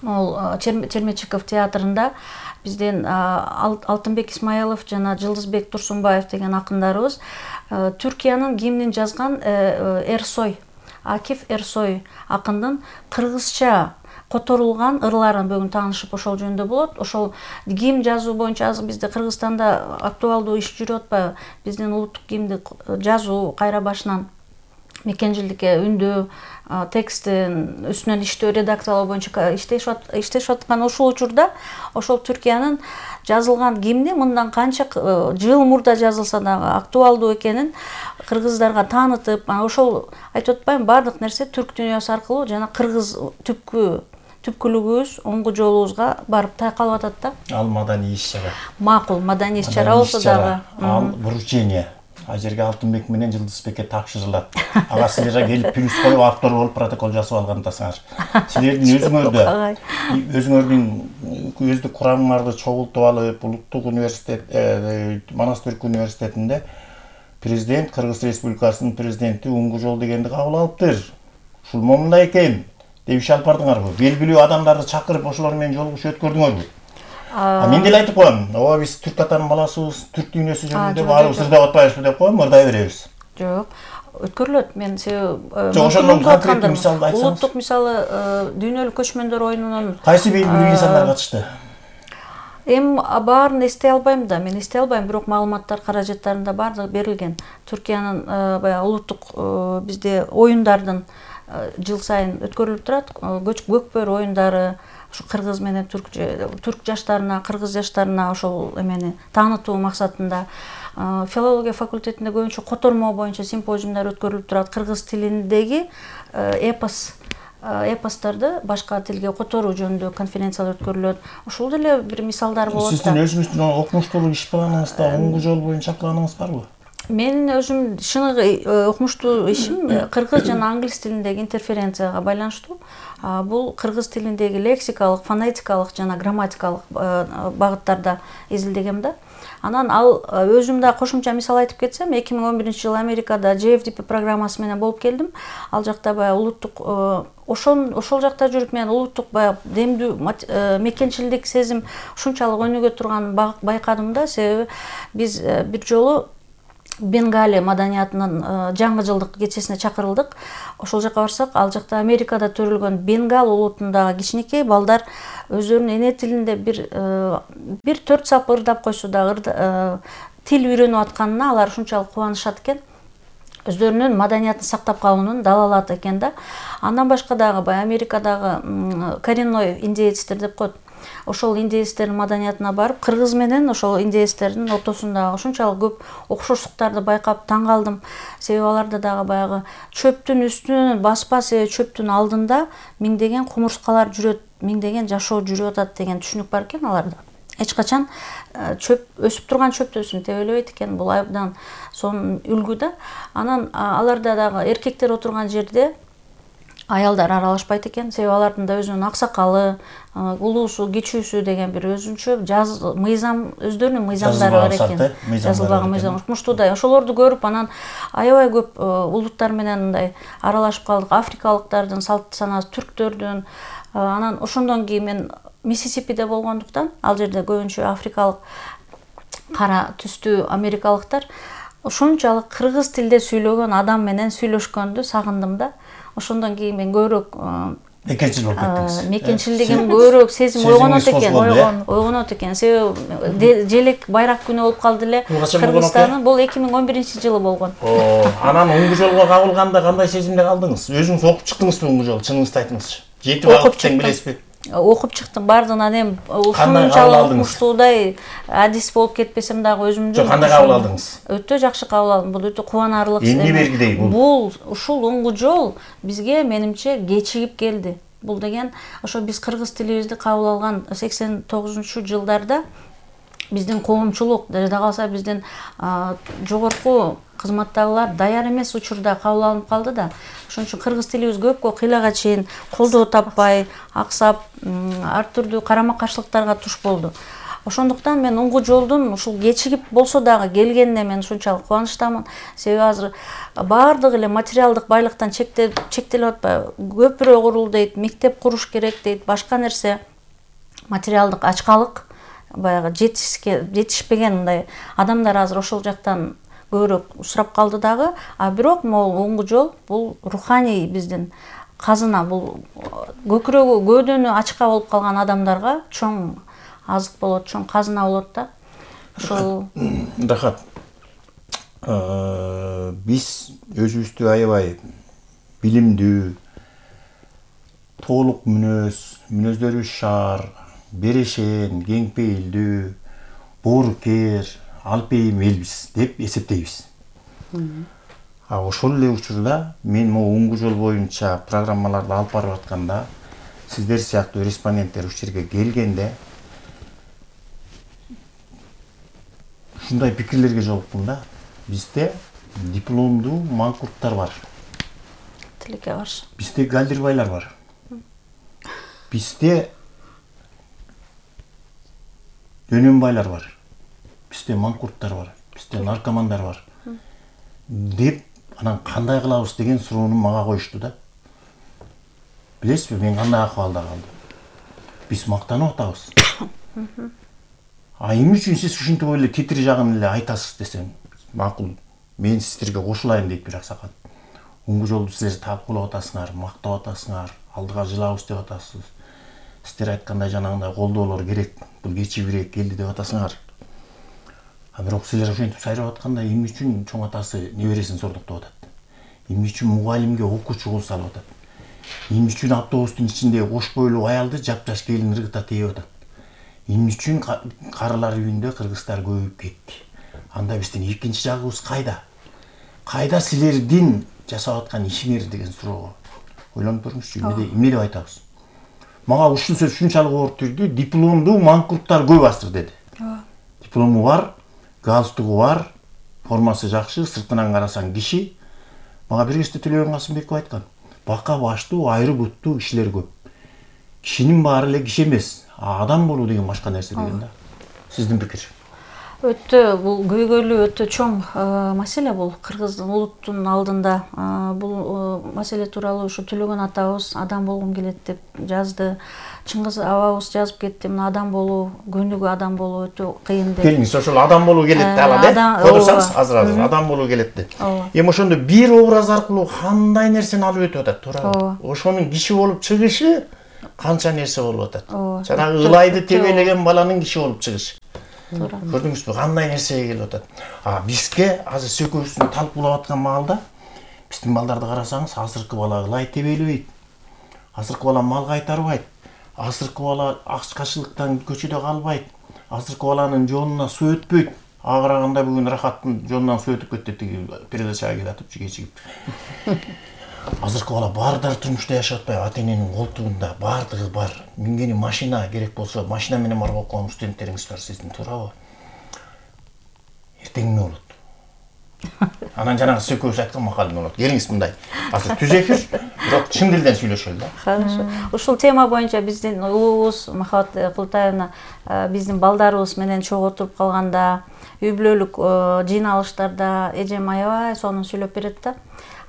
могул Чермечиков театрында бизден Алтынбек Исмаилов жана Жылдызбек Турсунбаев деген акындарыбыз Түркиянын гимнин жазган Эрсой, Акиф Эрсой акындын кыргызча которулган ырларын бүгүн таанышып ошол жөнүндө болот. Ошол гимн жазуу боюнча азыр бизде Кыргызстанда актуалдуу иш жүрүп атпайбы? Биздин улуттук гимнди жазуу кайра башынан мекенжилдикке үндөө, текстин үстүнөн иштөө, редакциялоо боюнча иштешип аткан ушул учурда ошол Түркиянын жазылган гимни мындан канча жыл мурда жазылса дагы актуалдуу экенин кыргыздарга таанытып, ошол айтып атпайм, бардык нерсе түрк дүйнөсү аркылуу жана кыргыз түпкү түпкүлүгүбүз, оңгу жолубузга барып тайкалып атат да. Ал маданий иш-чара. Макул, маданий иш-чара болсо дагы. Ал вручение. А жерге Алтынбек менен Жылдызбекке тапшырылат. Ага силерге келип плюс коюп автор болуп протокол жасап алгандасыңар. Силердин өзүңөрдө өзүңөрдүн өздүк курамыңарды чогултуп алып, улуттук университет, Манас түрк университетинде президент, Кыргыз Республикасынын президенти уңгу жол дегенди кабыл алыптыр. Ушул момундай экен деп иш алып бардыңарбы? Белгилүү адамдарды чакырып ошолор менен жолугушуу өткөрдүңөрбү? А мен деле айтып коем, ооба биз түрк атанын баласыбыз, түрк дүйнөсү жөнүндө баарыбыз ырдап атпайбызбы деп коем, ырдай беребиз. Жок, өткөрүлөт. Мен себеби Жок, ошондон конкреттүү мисалды айтсаңыз. Улуттук мисалы дүйнөлүк көчмөндөр оюнунун кайсы белгилүү инсандар катышты? Эми баарын эстей албайм да, мен эстей албайм, бирок маалыматтар каражаттарында бардыгы берилген. Түркиянын баягы улуттук бизде оюндардын жыл сайын өткөрүлүп турат. Көкбөр оюндары, ушу кыргыз менен түрк түрк жаштарына, кыргыз жаштарына ошол эмени таанытуу максатында филология факультетинде көбүнчө котормо боюнча симпозиумдар өткөрүлүп турат. Кыргыз тилиндеги эпос эпостарды башка тилге которуу жөнүндө конференциялар өткөрүлөт. Ошол деле бир мисалдар болот. Сиздин өзүңүздүн окумуштуу иш планыңызда уңгу жол боюнча планыңыз барбы? Менин өзүм шыны окумуштуу ишим кыргыз жана англис тилиндеги интерференцияга байланыштуу. Бул кыргыз тилиндеги лексикалык, фонетикалык жана грамматикалык багыттарда изилдегем да. Анан ал өзүм да кошумча мисал айтып кетсем, эки миң он биринчи жылы Америкада джей эф ди пи программасы менен болуп келдим. Ал жакта баягы улуттук ошол ошол жакта жүрүп мен улуттук баягы демдүү мекенчилдик сезим ушунчалык өнүгө турганын байкадым да, себеби биз бир жолу Бенгали маданиятынын жаңы жылдык кечесине чакырылдык. Ошол жака барсак, ал жакта Америкада төрөлгөн Бенгал улутундагы кичинекей балдар өздөрүнүн эне тилинде бир бир төрт сап ырдап койсо да тил үйрөнүп атканына алар ушунчалык кубанышат экен. Өздөрүнүн маданиятын сактап калуунун далалаты экен да. Андан башка дагы бай Америкадагы коренной индеецтер деп коет. Ошол индеецтердин маданиятына барып, кыргыз менен ошол индеецтердин ортосундагы ушунчалык көп окшоштуктарды байкап таң калдым. Себеби аларда дагы баягы чөптүн үстүнөн баспа себеби чөптүн алдында миңдеген кумурскалар жүрөт, миңдеген жашоо жүрүп атат деген түшүнүк бар экен аларда. Эч качан чөп өсүп турган чөптөсүн тебелебейт экен. Бул абдан сонун үлгү да. Анан аларда дагы эркектер отурган жерде аялдар аралашпайт экен. Себеби алардын да өзүнүн аксакалы, улуусу, кичүүсү деген бир өзүнчө жаз мыйзам, өздөрүнүн мыйзамдары бар экен. Жазылбаган мыйзам. Муштудай ошолорду көрүп, анан аябай көп улуттар менен мындай аралашып калдык. Африкалыктардын салт санасы, түрктөрдүн. Анан ошондон кийин мен Миссисипиде болгондуктан, ал жерде көбүнчө африкалык кара түстүү америкалыктар, ошончалык кыргыз тилде сүйлөгөн адам менен сүйлөшкөндү сагындым да. Ошондон кийин мен көбүрөөк мекенчил болуп кеттиңиз. Мекенчилдигим көбүрөөк сезим ойгонот экен, ойгонот экен. Себеби желек байрак күнү болуп калды эле Кыргызстандын. Бул эки миң он биринчи жылы болгон. Анан уңгу жолго кабылганда кандай сезимде калдыңыз? Өзүңүз окуп чыктыңызбы уңгу жол? Чыныңызды айтыңызчы. Жетип алып тең билесизби? Окуп чыктым, бардыгынан эми ушунчалык укмуштуудай адис болуп кетпесем дагы өзүмдү. Жок, кандай кабыл алдыңыз? Өтө жакшы кабыл алдым. Бул өтө кубанарлык. Эмне бергидей бул? Бул ушул уңгу жол бизге менимче кечигип келди. Бул деген ошо биз кыргыз тилибизди кабыл алган сексен тогузунчу жылдарда биздин коомчулук, жада калса биздин жогорку кызматтагылар даяр эмес учурда кабыл алынып калды да. Ошон үчүн кыргыз тилибиз көпкө кыйлага чейин колдоо таппай, аксап, ар түрдүү карама-каршылыктарга туш болду. Ошондуктан мен уңгу жолдун ушул кечигип болсо дагы келгенине мен ушунчалык кубанычтамын. Себеби азыр баардыгы эле материалдык байлыктан чектелип атпайбы? Көпүрө курул дейт, мектеп куруш керек дейт, башка нерсе материалдык ачкалык, баягы жетишпеген мындай адамдар азыр ошол жактан көбүрөөк сурап калды дагы. А бирок могул уңгу жол бул руханий биздин казына, бул көкүрөгү, көөдөнү ачка болуп калган адамдарга чоң азык болот, чоң казына болот да. Ошол Рахат. Биз өзүбүздү аябай билимдүү, толук мүнөз, мүнөздөрүбүз шаар, берешен, кең пейилдүү, боорукер, алпейим элбиз деп эсептейбиз. А ошол эле учурда мен могу уңгу жол боюнча программаларды алып барып атканда, сиздер сыяктуу респонденттер ушул жерге келгенде ушундай пикирлерге жолуктум да. Бизде дипломдуу манкурттар бар. Тилекке каршы. Бизде галдирбайлар бар. Бизде дөнөнбайлар бар. Бизде манкурттар бар. Бизде наркомандар бар. Деп, анан кандай кылабыз деген суроону мага коюшту да. Билесизби, мен кандай акыбалда калдым? Биз мактанып атабыз. А эмне үчүн сиз ушинтип эле титир жагын эле айтасыз десем, макул. Мен сиздерге кошулайын дейт бир аксакал. Уңгу жолду силер талкуулап атасыңар, мактап атасыңар, алдыга жылабыз деп атасыз. Сиздер айткандай жанагындай колдоолор керек, бул кечибирээк келди деп атасыңар. А бирок силер ошентип сайрап атканда эмне үчүн чоң атасы небересин сордуктап атат? Эмне үчүн мугалимге окуучу кол салып атат? Эмне үчүн автобустун ичинде кош бойлуу аялды жап-жаш келин ыргыта тээп атат? Эмне үчүн карылар үйүндө кыргыздар көбөйүп кетти? Анда биздин экинчи жагыбыз кайда? Кайда силердин жасап аткан ишиңер деген суроого ойлонуп көрүңүзчү, эмне деп айтабыз? Мага ушул сөз ушунчалык оор түрдү, дипломдуу манкурттар көп азыр деди. Диплому бар, галстугу бар, формасы жакшы, сыртынан карасаң киши. Мага бир кезде Төлөбек Касымбеков айткан, бака баштуу, айры буттуу кишилер көп. Кишинин баары эле киши эмес, адам болуу деген башка нерсе деген да. Сиздин пикир? Өтө бул көйгөйлүү, өтө чоң маселе бул кыргыздын улуттун алдында. Бул маселе тууралуу ушу Төлөгөн атабыз адам болгум келет деп жазды. Чыңгыз абабыз жазып кетти. Мына адам болуу, күнүгө адам болуу өтө кыйын деп. Келиңиз, ошол адам болуу келет деп ала да. Көрсөңүз азыр азыр адам болуу келет деп. Эми ошондо бир образ аркылуу кандай нерсени алып өтүп атат, туурабы? Ошонун киши болуп чыгышы канча нерсе болуп атат. Жанагы ылайды тебелеген баланын киши болуп чыгышы. Көрдүңүзбү, кандай нерсеге келип атат. А бизге азыр сөкөбүздүн талкуулап аткан маалда биздин балдарды карасаңыз, азыркы бала ылай тебелебейт. Азыркы бала мал кайтарбайт. Азыркы бала ачкачылыктан көчөдө калбайт. Азыркы баланын жонуна суу өтпөйт. Агыраганда бүгүн Рахаттын жонунан суу өтүп кетти тиги передачага келатып кечигип. Азыркы бала баардыгы турмушта жашап атпайбы, ата-эненин колтугунда баардыгы бар. Мингени машина керек болсо, машина менен барып окуган студенттериңиз бар сиздин, туурабы? Эртең эмне болот? Анан жанагы сөкөбүз айткан макал эмне болот? Келиңиз мындай. Азыр түз эфир, бирок чын дилден сүйлөшөлү да. Хорошо. Ушул тема боюнча биздин улуубуз Махабат Култаевна биздин балдарыбыз менен чогуу отуруп калганда, үй бүлөлүк жыйналыштарда эжем аябай сонун сүйлөп берет да.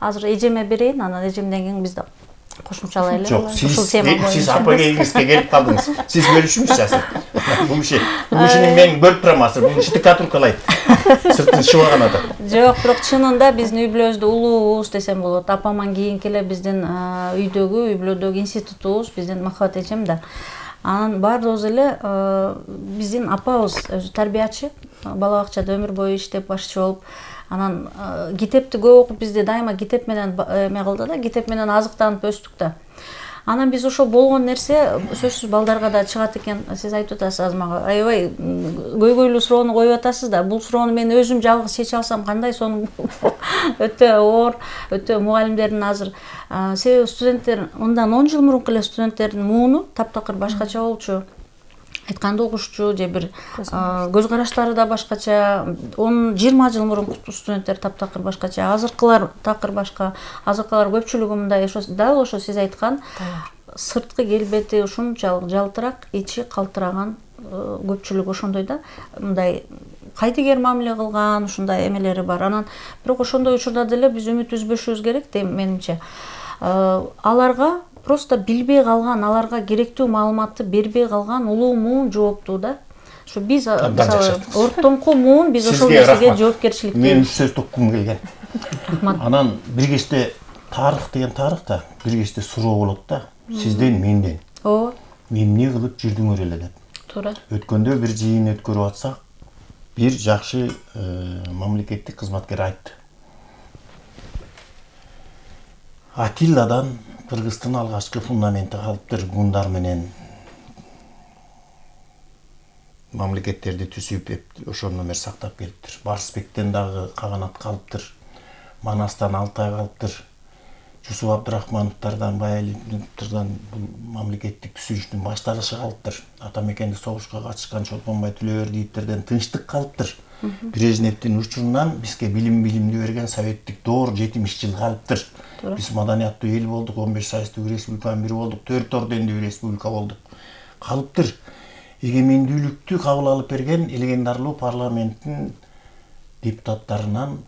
Азыр эжеме берейин, анан эжемден кийин биз да кошумчалайлы. Жок, сиз сиз апагеңизге келип калдыңыз. Сиз бөлүшүңүзчү азыр. Бул киши, бул кишини мен бөлүп турам азыр. Бул киши катуркалайт. Сыртын шыбаган адам. Жок, бирок чынында биздин үй бүлөбүздө улуубуз десем болот. Апаман кийинки эле биздин үйдөгү, үй бүлөдөгү институтубуз биздин Махабат эжем да. Анан баардыгыбыз эле биздин апабыз өзү тарбиячы, бала бакчада өмүр бою иштеп башчы болуп, анан китепти көп окуп бизди дайыма китеп менен эме кылды да, китеп менен азыктанып өстүк да. Анан биз ошол болгон нерсе сөзсүз балдарга да чыгат экен. Сиз айтып атасыз азыр мага, аябай көйгөйлүү суроону коюп атасыз да. Бул суроону мен өзүм жалгыз чече алсам кандай сонун өтө оор, өтө мугалимдердин азыр себеби студенттер мындан он жыл мурунку эле студенттердин мууну таптакыр башкача болчу. Айтканды угушчу же бир көз караштары да башкача. он жыйырма жыл мурунку студенттер таптакыр башкача, азыркылар такыр башка. Азыркылар көпчүлүгү мындай ошо дал ошо сиз айткан сырткы келбети ушунчалык жалтырак, ичи калтыраган көпчүлүгү ошондой да. Мындай кайдыгер мамиле кылган ушундай эмелери бар. Анан бирок ошондой учурда деле биз үмүт үзбөшүбүз керек дейм менимче. Аларга просто билбей калган, аларга керектүү маалыматты бербей калган улуу муун жооптуу да. Ушу биз мисалы ортоңку муун биз ошол нерсеге жоопкерчиликтүү. Мен үч сөз токкум келген. Анан бир кечте тарых деген тарых да, бир кечте суроо болот да. Сизден, менден. Ооба. Эмне кылып жүрдүңөр эле деп. Туура. Өткөндө бир жыйын өткөрүп атсак, бир жакшы мамлекеттик кызматкер айтты. Атилладан Кыргыздын алгачкы фундаменти калыптыр, гундар менен мамлекеттерди түзүп, ошондон бери сактап келиптир. Барсбектен дагы каганат калыптыр, Манастан Алтай калыптыр, Жусуп Абдрахмановдордон, Баялиевдерден бул мамлекеттик түзүлүштүн башталышы калыптыр. Ата мекенди согушка катышкан Чолпонбай Түлөбердиевдерден тынчтык калыптыр. Брежневдин учурунан бизге билим билимди берген советтик доор жетимиш жыл калыптыр. Биз маданияттуу эл болдук, он беш сайыстуу республиканын бири болдук, төрт ордендүү республика болдук. Калыптыр. Эгемендүүлүктү кабыл алып берген легендарлуу парламенттин депутаттарынан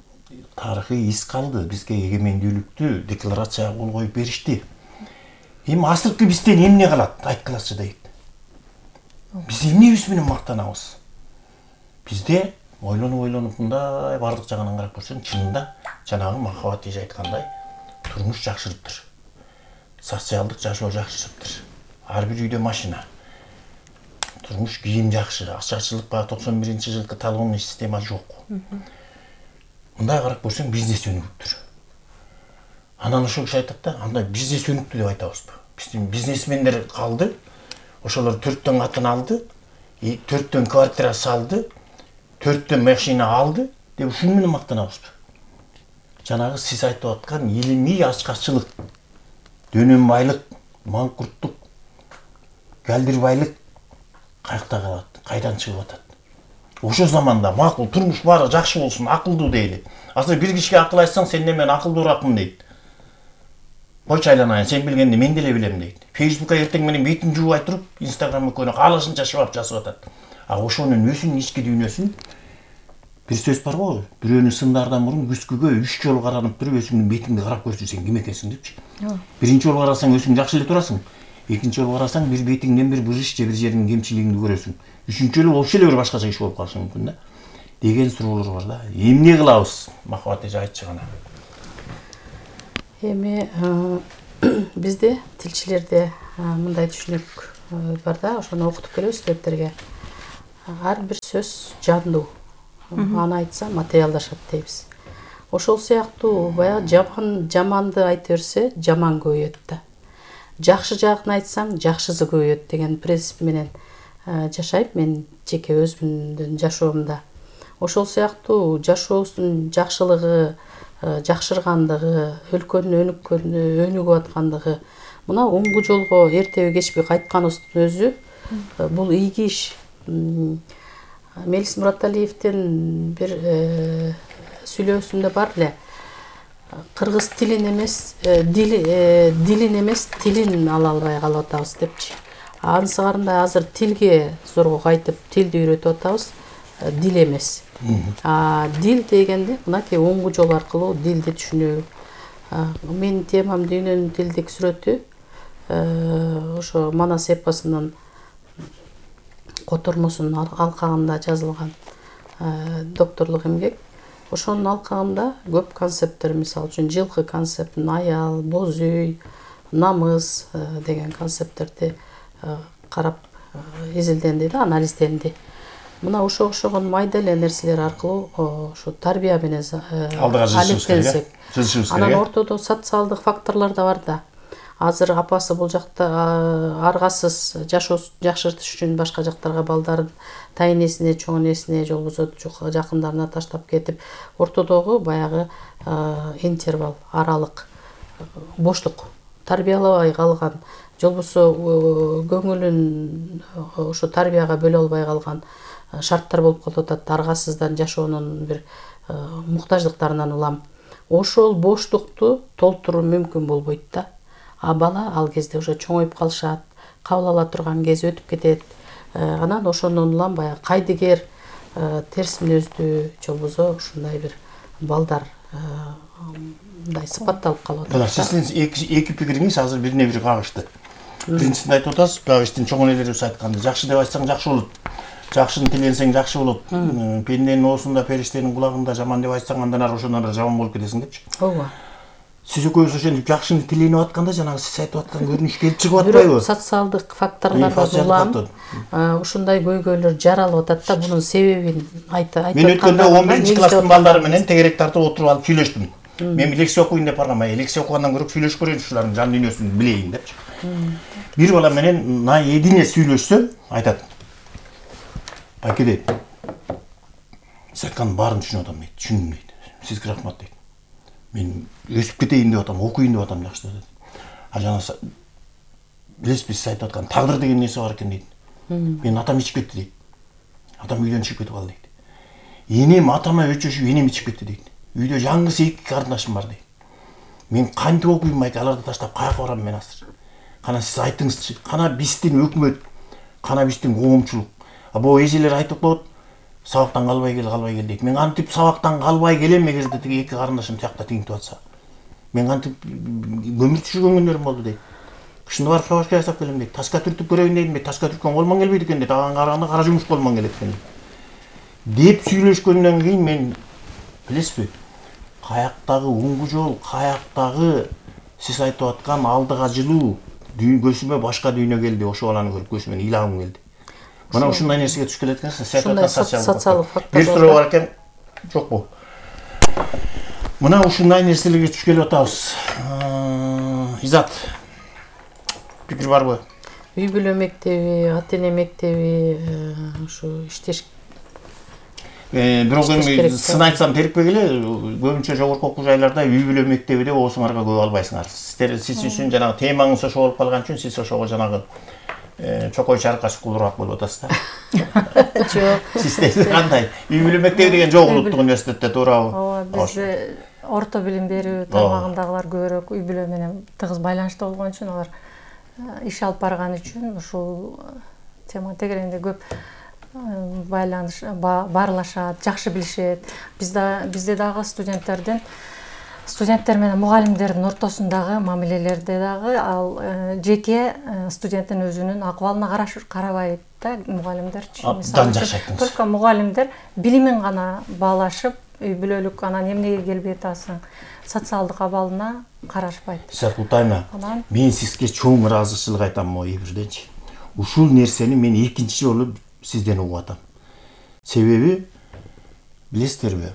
тарыхый из калды. Бизге эгемендүүлүктү декларацияга кол коюп беришти. Эми азыркы бизден эмне калат? Айткылачы дейт. Биз эмнебиз менен мактанабыз? Бизде ойлонуп ойлонуп мындай бардык жагынан карап көрсөң, чынында жанагы Махабат эже айткандай турмуш жакшырыптыр. Социалдык жашоо жакшырыптыр. Ар бир үйдө машина. Турмуш кийим жакшы. Ачкачылык баягы токсон биринчи жылкы талонный система жок. Мындай карап көрсөң бизнес өнүгүптүр. Анан ошол киши айтат да, андай бизнес өнүктү деп айтабызбы? Биздин бизнесмендер калды. Ошолор төрттөн катын алды, төрттөн квартира салды, төрттөн машина алды деп ушуну менен мактанабызбы? Жанагы сиз айтып аткан илимий ачкачылык, дөнөнбайлык, маңкурттук, галдирбайлык каякта калат, кайдан чыгып атат? Ошо заманда макул турмуш баары жакшы болсун, акылдуу дейли. Азыр бир кишиге акыл айтсаң, сен мен акылдуураакмын дейт. Койчу айланайын, сен билгенди мен деле билем дейт. Фейсбукка эртең менен бетин жуубай туруп, Инстаграм экөөнө каалашынча шыбап жазып атат. А ошонун өзүнүн ички дүйнөсүн бир сөз бар го, бирөөнү сындардан мурун күзгүгө үч жолу каранып туруп өзүңдүн бетиңди карап көрсүң, сен ким экенсиң депчи. Биринчи жолу карасаң өзүң жакшы эле турасың. Экинчи жолу карасаң бир бетиңден бир бырыш же бир жериңдин кемчилигиңди көрөсүң. Үчүнчү жолу вообще эле бир башкача иш болуп калышы мүмкүн да. Деген суроолор бар да. Эмне кылабыз? Махабат эже айтчы гана. Эми бизде тилчилерде мындай түшүнүк бар да, ошону окутуп келебиз студенттерге. Ар бир сөз жандуу. Аны айтса материалдашат дейбиз. Ошол сыяктуу баягы жаман жаманды айта берсе, жаман көбөйөт да. Жакшы жагын айтсаң, жакшысы көбөйөт деген принцип менен жашайм мен жеке өзүмдүн жашоомдо. Ошол сыяктуу жашообуздун жакшылыгы, жакшыргандыгы, өлкөнүн өнүккөнү, өнүгүп аткандыгы мына оңгу жолго эртеби кечпи кайтканыбыздын өзү бул ийги иш. Мелис Мураталиевдин бир сүйлөөсүндө бар эле. Кыргыз тилин эмес, дилин эмес, тилин ала албай калып атабыз депчи. Ансыгарында азыр тилге зорго кайтып, тилди үйрөтүп атабыз, дил эмес. А дил дегенде мынакей оңгу жол аркылуу дилди түшүнүү. Менин темам дүйнөнүн тилдик сүрөтү ошо Манас эпосунун котормосунун алкагында жазылган докторлук эмгек. Ошонун алкагында көп концепттер, мисалы үчүн жылкы концептин, аял, боз үй, намыс деген концепттерди карап изилденди да, анализденди. Мына ошого окшогон майда эле нерселер аркылуу ошо тарбия менен алектенсек. Анан ортодо социалдык факторлор да бар да. Азыр апасы бул жакта аргасыз жашоо жакшыртыш үчүн башка жактарга балдарын тайнесине, чоң энесине, же болбосо жакындарына таштап кетип, ортодогу баягы интервал, аралык, боштук, тарбиялабай калган, же болбосо көңүлүн ошо тарбияга бөлө албай калган шарттар болуп калып атат. Аргасыздан жашоонун бир муктаждыктарынан улам. Ошол боштукту толтуруу мүмкүн болбойт да. А бала ал кезде уже чоңоюп калышат, кабыл ала турган кези өтүп кетет. Анан ошондон улам баягы кайдыгер, терс мүнөздүү, же болбосо ушундай бир балдар мындай сыпатталып калып атат. Мына сиздин эки пикириңиз азыр бирине бири кагышты. Биринчисинде айтып атасыз, баягы биздин чоң энелерибиз айткандай, жакшы деп айтсаң жакшы болот. Жакшыны тиленсең жакшы болот. Пенденин оозунда, периштенин кулагында жаман деп айтсаң андан ары ошондон ары жаман болуп кетесиң депчи. Ооба. Сиз экөөбүз ошентип жакшыны тиленип атканда жанагы сиз айтып аткан көрүнүш келип чыгып атпайбы? Социалдык факторлордон улам ушундай көйгөйлөр жаралып атат да, бунун себебин айтып атканда. Мен өткөндө он биринчи класстын балдары менен тегерек тартып отуруп алып сүйлөштүм. Мен лекция окуйн деп баргам, лекция окугандан көрө сүйлөшүп көрөйүн, ушулардын жан дүйнөсүн билейин депчи. Бир бала менен наедине сүйлөшсөм, айтат. Байке дейт. Сиз айткандын баарын түшүнүп атам дейт. Түшүндүм дейт. Сизге рахмат дейт. Мен өсүп кетейин деп атам, окуйн деп атам жакшы дейт. А жана билесизби, сиз айтып аткан тагдыр деген нерсе бар экен дейт. Менин атам ичип кетти дейт. Атам үйдөн чыгып кетип калды дейт. Энем атама өчөшүп энем ичип кетти дейт. Үйдө жаңгысы эки карындашым бар дейт. Мен кантип окуйм байке, аларды таштап каяка барам мен азыр? Кана сиз айтыңызчы, кана биздин өкмөт, кана биздин коомчулук. А бул эжелер айтып коет, сабактан калбай кел, калбай кел дейт. Мен кантип сабактан калбай келем эгерде тиги эки карындашым тиякта тигинтип атса? Мен кантип көмүр түшүргөн күндөр болду дейт. Кышында барып шабашка жасап келем дейт. Таска түртүп көрөйүн дедим, таска түрткөн колмон келбейт экен дейт. Ага караганда кара жумуш колмон келет экен деп сүйлөшкөндөн кийин мен билесизби, каяктагы оңгу жол, каяктагы сиз айтып аткан алдыга жылуу көзүмө башка дүйнө келди. Ошол баланы көрүп көзүмөн ыйлагым келди. Мына ушундай нерсеге түшүп келет экенсиз. Ушундай социалдык фактор. Бир суроо бар экен. Жокпу? Мына ушундай нерселерге түшүп келип атабыз. Изат. Пикир барбы? Үй бүлө мектеби, ата эне мектеби ушу иштеш. Бирок эми сын айтсам терикпей эле, көбүнчө жогорку окуу жайларда үй бүлө мектеби деп оосуңарга көп албайсыңар. Сиздер сиз үчүн жанагы темаңыз ошо болуп калган үчүн сиз ошого жанагы чокой чаркаш кулурак болуп атасыз да. Жок. Сиздер кандай? Үй бүлө мектеби деген жок улуттук университетте, туурабы? Ооба, бизде орто билим берүү тармагындагылар көбүрөөк үй бүлө менен тыгыз байланышта болгон үчүн алар иш алып барган үчүн ушул тема тегерегинде көп байланыш баарлашат, жакшы билишет. Бизде бизде дагы студенттердин студенттер менен мугалимдердин ортосундагы мамилелерде дагы ал жеке студенттин өзүнүн акыбалына карабайт да мугалимдерчи. Абдан жакшы айттыңыз. Только мугалимдер билимин гана баалашып, үй бүлөлүк анан эмнеге келбей атасың, социалдык абалына карашпайт. Сакутайна, мен сизге чоң ыраазычылык айтам могу эбирденчи. Ушул нерсени мен экинчи жолу сизден угуп атам. Себеби билесиздерби?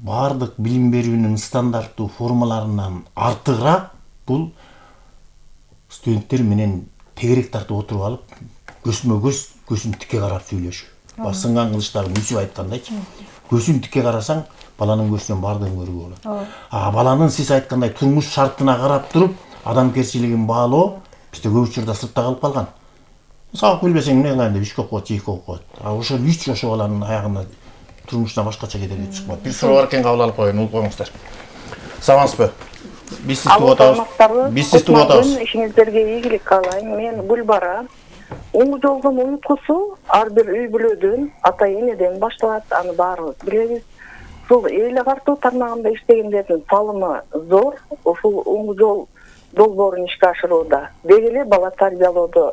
Бардык билим берүүнүн стандарттуу формаларынан артыгыраак бул студенттер менен тегерек тартып отуруп алып, көзмө көз, көзүн тикке карап сүйлөшүү. Басынган кылычтагы Мүсүп айткандайчы. Көзүн тикке карасаң, баланын көзүнөн бардыгын көрүүгө болот. А баланын сиз айткандай турмуш шартына карап туруп, адамгерчилигин баалоо бизде көп учурда сыртта калып калган. Сабак билбесең эмне кылайын деп үчкө окуп, эки окуп коет. А ошол үч ошо баланын аягына турмушуна башкача кетип чыкпайт. Бир суроо бар экен, кабыл алып коеюн, угуп коюңуздар. Саламатсызбы? Биз сизди угуп атабыз. Биз сизди угуп атабыз. Ишиңиздерге ийгилик каалайм. Мен Гүлбара. Оңу жолдун уюткусу ар бир үй бүлөдөн, ата энеден башталат, аны баарыбыз билебиз. Ушул эйле картуу тармагында иштегендердин салымы зор. Ушул оңу жол долбоорун ишке ашырууда деги эле бала тарбиялоодо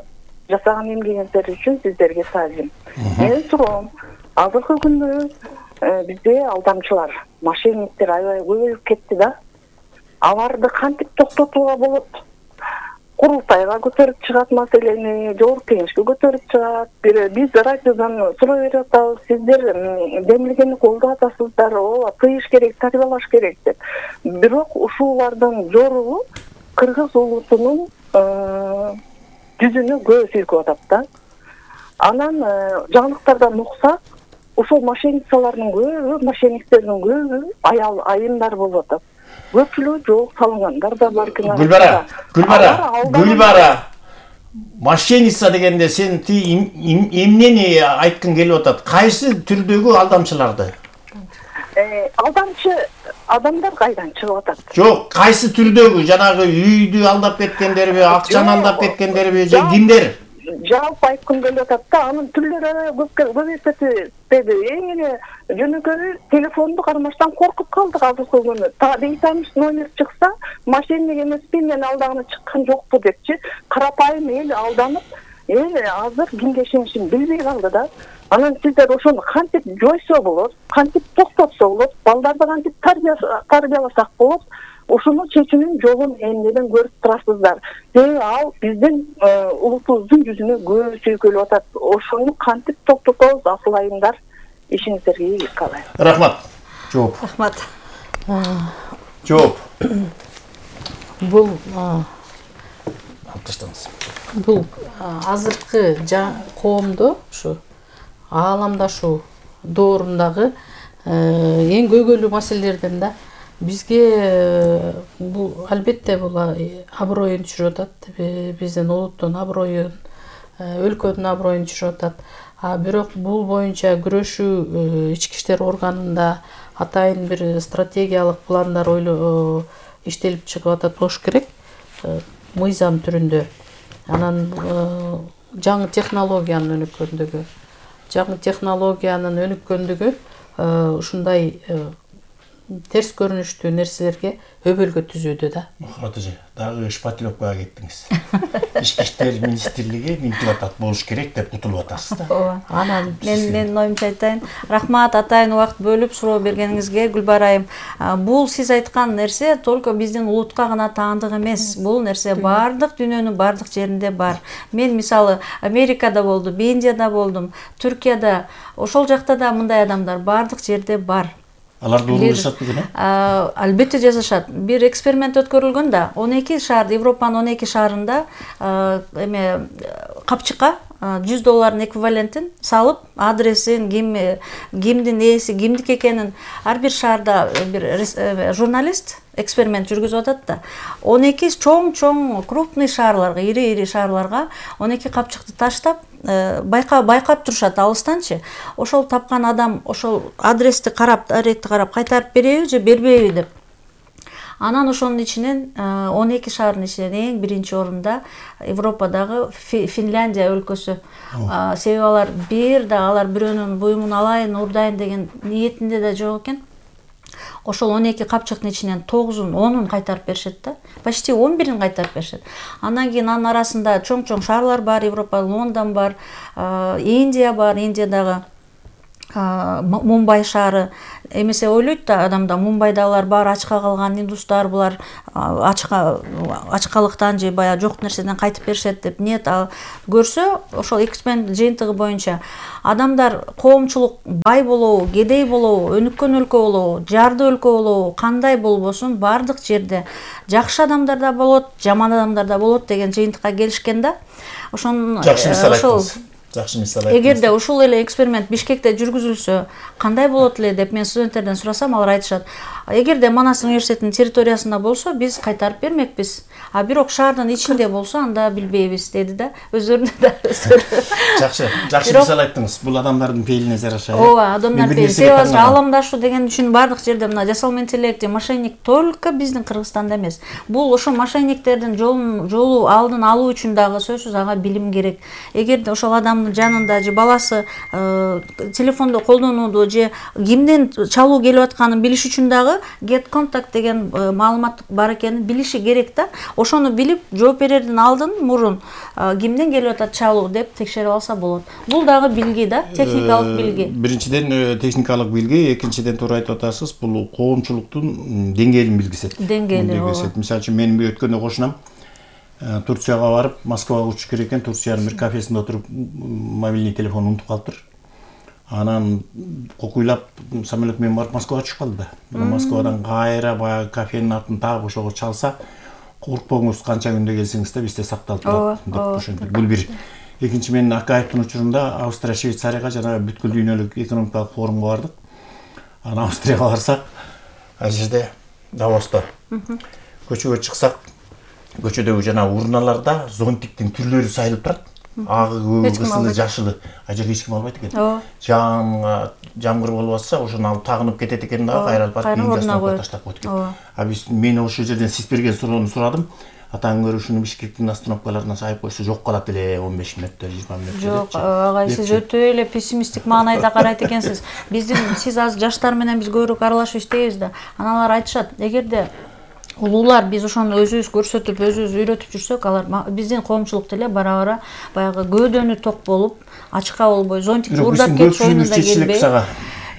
жасаган эмгегиңиздер үчүн сиздерге таазим. Менин суроом, азыркы күндө бизде алдамчылар, мошенниктер аябай көбөйүп кетти да. Аларды кантип токтотууга болот? Курултайга көтөрүп чыгат маселени, жогорку кеңешке көтөрүп чыгат. Биз радиодон суроо берип атабыз, сиздер демилгени колдоп атасыздар, ооба тыйыш керек, тарбиялаш керек деп. Бирок ушулардын жоругу кыргыз улутунун жүзүнө көз үйкөп атат да. Анан жаңылыктардан уксак, ушул мошенницалардын көбү, мошенниктердин көбү аял айымдар болуп атат. Көпчүлүгү жол салынгандар да бар экен. Гүлбара, Гүлбара, Гүлбара. Мошенница дегенде сен ти эмнени айткың келип атат? Кайсы түрдөгү алдамчыларды? Э, алдамчы адамдар кайдан чыгып атат? Жок, кайсы түрдөгү? Жанагы үйдү алдап кеткендерби, акчаны алдап кеткендерби, же кимдер? Жалпы айткым келип атат да, анын түрлөрү көбөйүп кетти. Эң эле жөнөкөй телефонду кармаштан коркуп калдык азыркы күнү. Дейтамыш номер чыкса, мошенник эмеспи, мен алдаганы чыккан жокпу депчи, карапайым эл алданып, эл азыр кимге ишенишин билбей калды да. Анан сиздер ошону кантип жойсо болот, кантип токтотсо болот, балдарды кантип тарбияласак болот, ушуну чечүүнүн жолун эмнеден көрүп турасыздар. Себеби ал биздин улутубуздун жүзүнө көз үйкөлүп атат. Ошону кантип токтотобуз, асыл айымдар? Ишиңиздерге ийгилик каалайм. Рахмат. Жооп. Рахмат. Жооп. Бул таштаңыз. Бул азыркы коомдо ушу ааламдашуу доорундагы эң көйгөйлүү маселелерден да. Бизге бул албетте бул аброюн түшүрүп атат, биздин улуттун аброюн, өлкөнүн аброюн түшүрүп атат. А бирок бул боюнча күрөшүү ички иштер органында атайын бир стратегиялык пландар ойлоо иштелип чыгып атат болуш керек, мыйзам түрүндө. Анан жаңы технологиянын өнүккөндүгү, жаңы технологиянын өнүккөндүгү ушундай терс көрүнүштүү нерселерге өбөлгө түзүүдө да. Мухат эже, дагы шпатлёккага кеттиңиз. Ички иштер министрлиги минтип атат болуш керек деп кутулуп атасыз да. Ооба. Анан мен мен оюмча айтайын. Рахмат атайын убакыт бөлүп суроо бергениңизге, Гүлбара айым. Бул сиз айткан нерсе только биздин улутка гана таандык эмес. Бул нерсе бардык дүйнөнүн бардык жеринде бар. Мен мисалы Америкада болдум, Индияда болдум, Түркияда, ошол жакта да мындай адамдар бардык жерде бар. Алар doğru жашат бекен, э? Албетте жашашат. Бир эксперимент өткөрүлгөн да, он эки шаар, Европанын он эки шаарында эме капчыкка жүз доллардын эквивалентин салып, адресин, ким кимдин ээси, кимдики экенин ар бир шаарда бир журналист эксперимент жүргүзүп атат да. он эки чоң-чоң крупный шаарларга, ири-ири шаарларга он эки капчыкты таштап, байкап байкап турушат алыстанчы. Ошол тапкан адам ошол адрести карап, адрести карап кайтарып береби же бербейби деп. Анан ошонун ичинен он эки шаардын ичинен эң биринчи орунда Европадагы Финляндия өлкөсү. Себеби алар бир да алар бирөөнүн буюмун алайын, урдайын деген ниетинде да жок экен. Ошол он эки капчыктын ичинен тогузун, онун кайтарып беришет да. Почти он бирин кайтарып беришет. Андан кийин анын арасында чоң-чоң шаарлар бар, Европа, Лондон бар, Индия бар, Индиядагы Мумбай шаары. Эмесе ойлойт да адамда Мумбайдагылар баары ачка калган индустар, булар ачка ачкалыктан же баягы жок нерседен кайтып беришет деп нет. Ал көрсө, ошол эксперимент жыйынтыгы боюнча адамдар коомчулук бай болобу, кедей болобу, өнүккөн өлкө болобу, жарды өлкө болобу, кандай болбосун баардык жерде жакшы адамдар да болот, жаман адамдар да болот деген жыйынтыкка келишкен да. Ошон жакшы мисал айттыңыз. Жакшы мисал айттыңыз. Эгерде ушул эле эксперимент Бишкекте жүргүзүлсө, кандай болот эле деп мен студенттерден сурасам, алар айтышат. Эгерде Манас университетинин территориясында болсо, биз кайтарып бермекпиз. А бирок шаардын ичинде болсо, анда билбейбиз деди да. Өздөрүнө да өздөрү. Жакшы, жакшы мисал айттыңыз. Бул адамдардын пейилине жараша. Ооба, адамдар пейили. Себеби аламдашуу деген үчүн бардык жерде мына жасалма интеллект, мошенник только биздин Кыргызстанда эмес. Бул ошо мошенниктердин жолун жолу алдын алуу үчүн дагы сөзсүз ага билим керек. Эгерде ошол адамдын жанында же баласы телефондо колдонууду же кимден чалуу келип атканын билиш үчүн дагы get contact деген маалымат бар экенин билиши керек да. Ошону билип, жооп берердин алдын мурун кимден келип атат чалуу деп текшерип алса болот. Бул дагы билги да, техникалык билги. Биринчиден техникалык билги, экинчиден туура айтып атасыз, бул коомчулуктун деңгээлин билгисет. Деңгээли. Мисалы үчүн менин өткөндө кошунам Турцияга барып, Москвага учуш керек экен, Турциянын бир кафесинде отуруп мобильный телефон унутуп калыптыр. Анан кокуйлап самолет менен барып Москвага түшүп калды да. Москвадан кайра баягы кафенин атын таап ошого чалса, коркпоңуз, канча күндө келсеңиз да бизде сакталып турат деп ошентип. Бул бир. Экинчи, мен Акаевдин учурунда Австрия, Швейцарияга жана бүткүл дүйнөлүк экономикалык форумга бардык. Анан Австрияга барсак, ал жерде Давоста көчөгө чыксак, көчөдөгү жана урналарда зонтиктин түрлөрү сайылып турат. Агы, кызылы, жашылы. А жерде эч ким албайт экен. Жаан жамгыр болуп атса, ошону алып тагынып кетет экен да, кайралып барып үйгө таштап коет экен. А биз мен ошол жерден сиз берген суроону сурадым. Атаң көрүп ушуну Бишкектин остановкаларына сайып койсо жок калат эле он беш мүнөттө, жыйырма мүнөттө. Жок, агай, сиз өтө эле пессимисттик маанайда карайт экенсиз. Биздин сиз азыр жаштар менен биз көбүрөөк аралашып иштейбиз да. Аналар айтышат, эгерде улуулар биз ошону өзүбүз көрсөтүп, өзүбүз үйрөтүп жүрсөк, алар биздин коомчулук деле бара-бара баягы көөдөнү ток болуп, ачка болбой, зонтик уурдап кетип оюнунда келбей.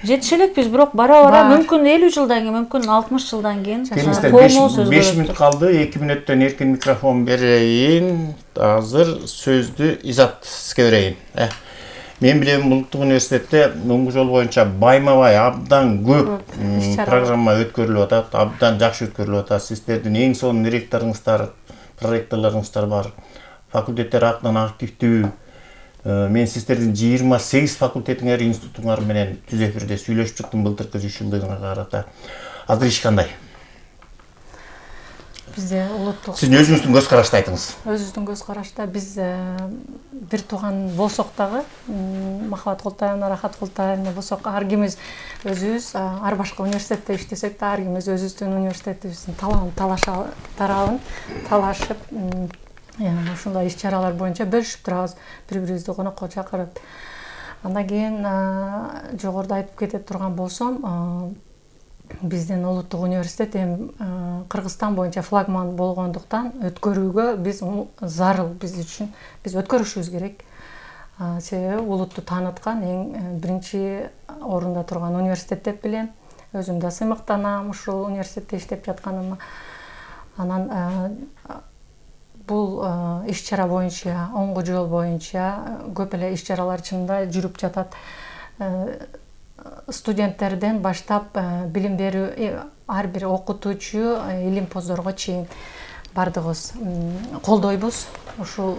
Жетише элекпиз, бирок бара-бара мүмкүн элүү жылдан кийин, мүмкүн алтымыш жылдан кийин коомубуз беш мүнөт калды, эки мүнөттөн эркин микрофон берейин. Азыр сөздү Изатовго берейин. Мен билем, Улуттук университетте муңгу жол боюнча байма-бай абдан көп программа өткөрүлүп атат, абдан жакшы өткөрүлүп атат. Сиздердин эң сонун ректоруңуздар, проректорлоруңуздар бар. Факультеттер актан активдүү. Мен сиздердин жыйырма сегиз факультетиңер, институтуңар менен түз эфирде сүйлөшүп чыктым былтыркы жүз жылдыгына карата. Азыр иш кандай? Бизде улуттук. Сиздин өзүңүздүн көз карашты айтыңыз. Өзүбүздүн көз карашта биз бир тууган болсок дагы, Махабат Култаевна, Рахат Култаевна болсок, ар кимиз өзүбүз ар башка университетте иштесек да, ар кимиз өзүбүздүн университетибиздин талабын талаша тарабын талашып, ушундай иш-чаралар боюнча бөлүшүп турабыз, бири-бирибизди конокко чакырып. Андан кийин жогоруда айтып кете турган болсом, биздин улуттук университет эми Кыргызстан боюнча флагман болгондуктан өткөрүүгө биз зарыл, биз үчүн биз өткөрүшүбүз керек. Себеби улутту тааныткан эң биринчи орунда турган университет деп билем. Өзүм да сыймыктанам ушул университетте иштеп жатканыма. Анан бул иш-чара боюнча, оңгу жол боюнча көп эле иш-чаралар чынында жүрүп жатат. Студенттерден баштап билим берүү, ар бир окутуучу, илимпоздорго чейин бардыгыбыз колдойбуз. Ушул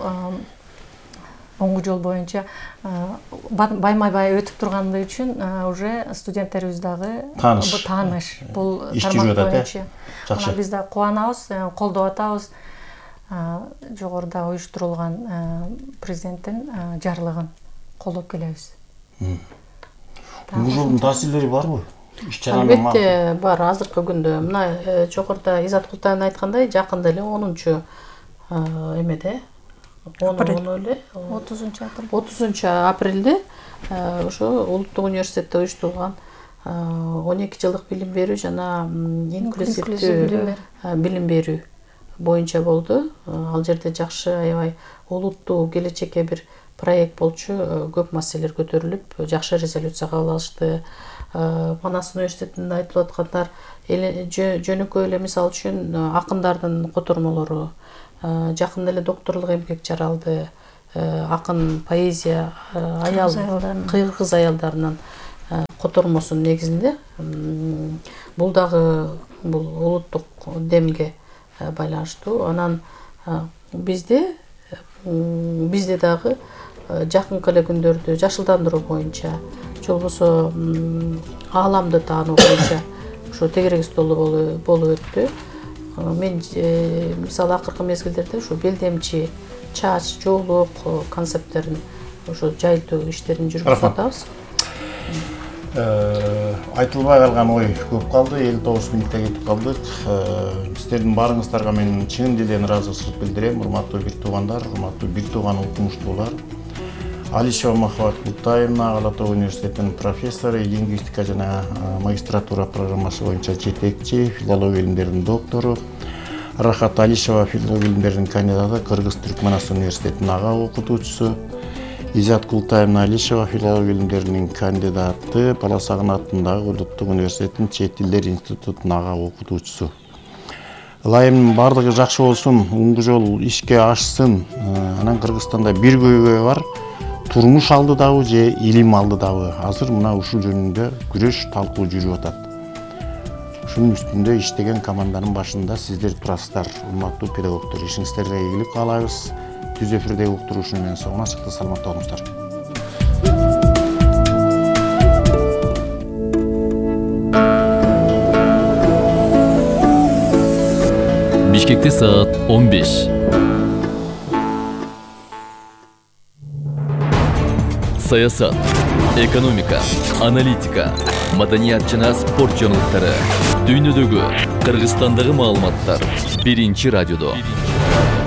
оңгу жол боюнча байма-бай өтүп тургандыгы үчүн уже студенттерибиз дагы тааныш бул тармак боюнча. Жакшы. Биз да кубанабыз, колдоп атабыз. Жогоруда уюштурулган президенттин жарлыгын колдоп келебиз. Бул жолдун таасирлери барбы? иш чаранын Албетте бар. Азыркы күндө мына жогоруда Изат Култаевдин айткандай жакында эле онунчу эмеде он эле отузунчу апрель отузунчу апрелде ошо Улуттук университетте уюштурулган он эки жылдык билим берүү жана инклюзивдүү билим берүү боюнча болду. Ал жерде жакшы аябай улуттуу келечекке бир проект болчу, көп маселелер көтөрүлүп, жакшы резолюция кабыл алышты. Манас университетинде айтылып аткандар жөнөкөй эле мисал үчүн акындардын котормолору, жакында эле докторлук эмгек жаралды, акын поэзия аял кыйгыз аялдарынын котормосунун негизинде бул дагы бул улуттук демге байланыштуу. Анан бизде бизде дагы жакынкы эле күндөрдө жашылдандыруу боюнча, же болбосо ааламды таануу боюнча ушу тегерек столу болуп өттү. Мен мисалы акыркы мезгилдерде ушу белдемчи, чач, жоолук концепттерин ушу жайылтуу иштерин жүргүзүп атабыз. Айтылбай калган ой көп калды, элүү тогуз мүнөттө кетип калдык. Сиздердин баарыңыздарга мен чын дилден ыраазычылык билдирем, урматтуу бир туугандар, урматтуу бир тууган окумуштуулар. Алишева Махаббат Култаевна, Ала Тоо университетинин профессору, лингвистика жана магистратура программасы боюнча жетекчи, филология илимдеринин доктору. Рахат Алишева, филология илимдеринин кандидаты, Кыргыз-Түркмөнстан университетинин ага окутуучусу. Изат Култаевна Алишева, филология илимдеринин кандидаты, Бала Сагын атындагы Улуттук университетинин Чет тилдер институтунун ага окутуучусу. Ылайымдын баардыгы жакшы болсун, оңду жол ишке ашсын. Анан Кыргызстанда бир көйгөй бар. Турмуш алдыдабы же илим алдыдабы? Азыр мына ушул жөнүндө күрөш, талкуу жүрүп атат. Ушунун үстүндө иштеген команданын башында сиздер турасыздар, урматтуу педагогдор. Ишиңиздерге ийгилик каалайбыз. Түз эфирдеги уктуруушуну менен соңуна чыкты, саламатта болуңуздар. Бишкекте саат он беш. Саясат, экономика, аналитика, маданият жана спорт жаңылыктары, дүйнөдөгү, Кыргызстандагы маалыматтар биринчи радиодо.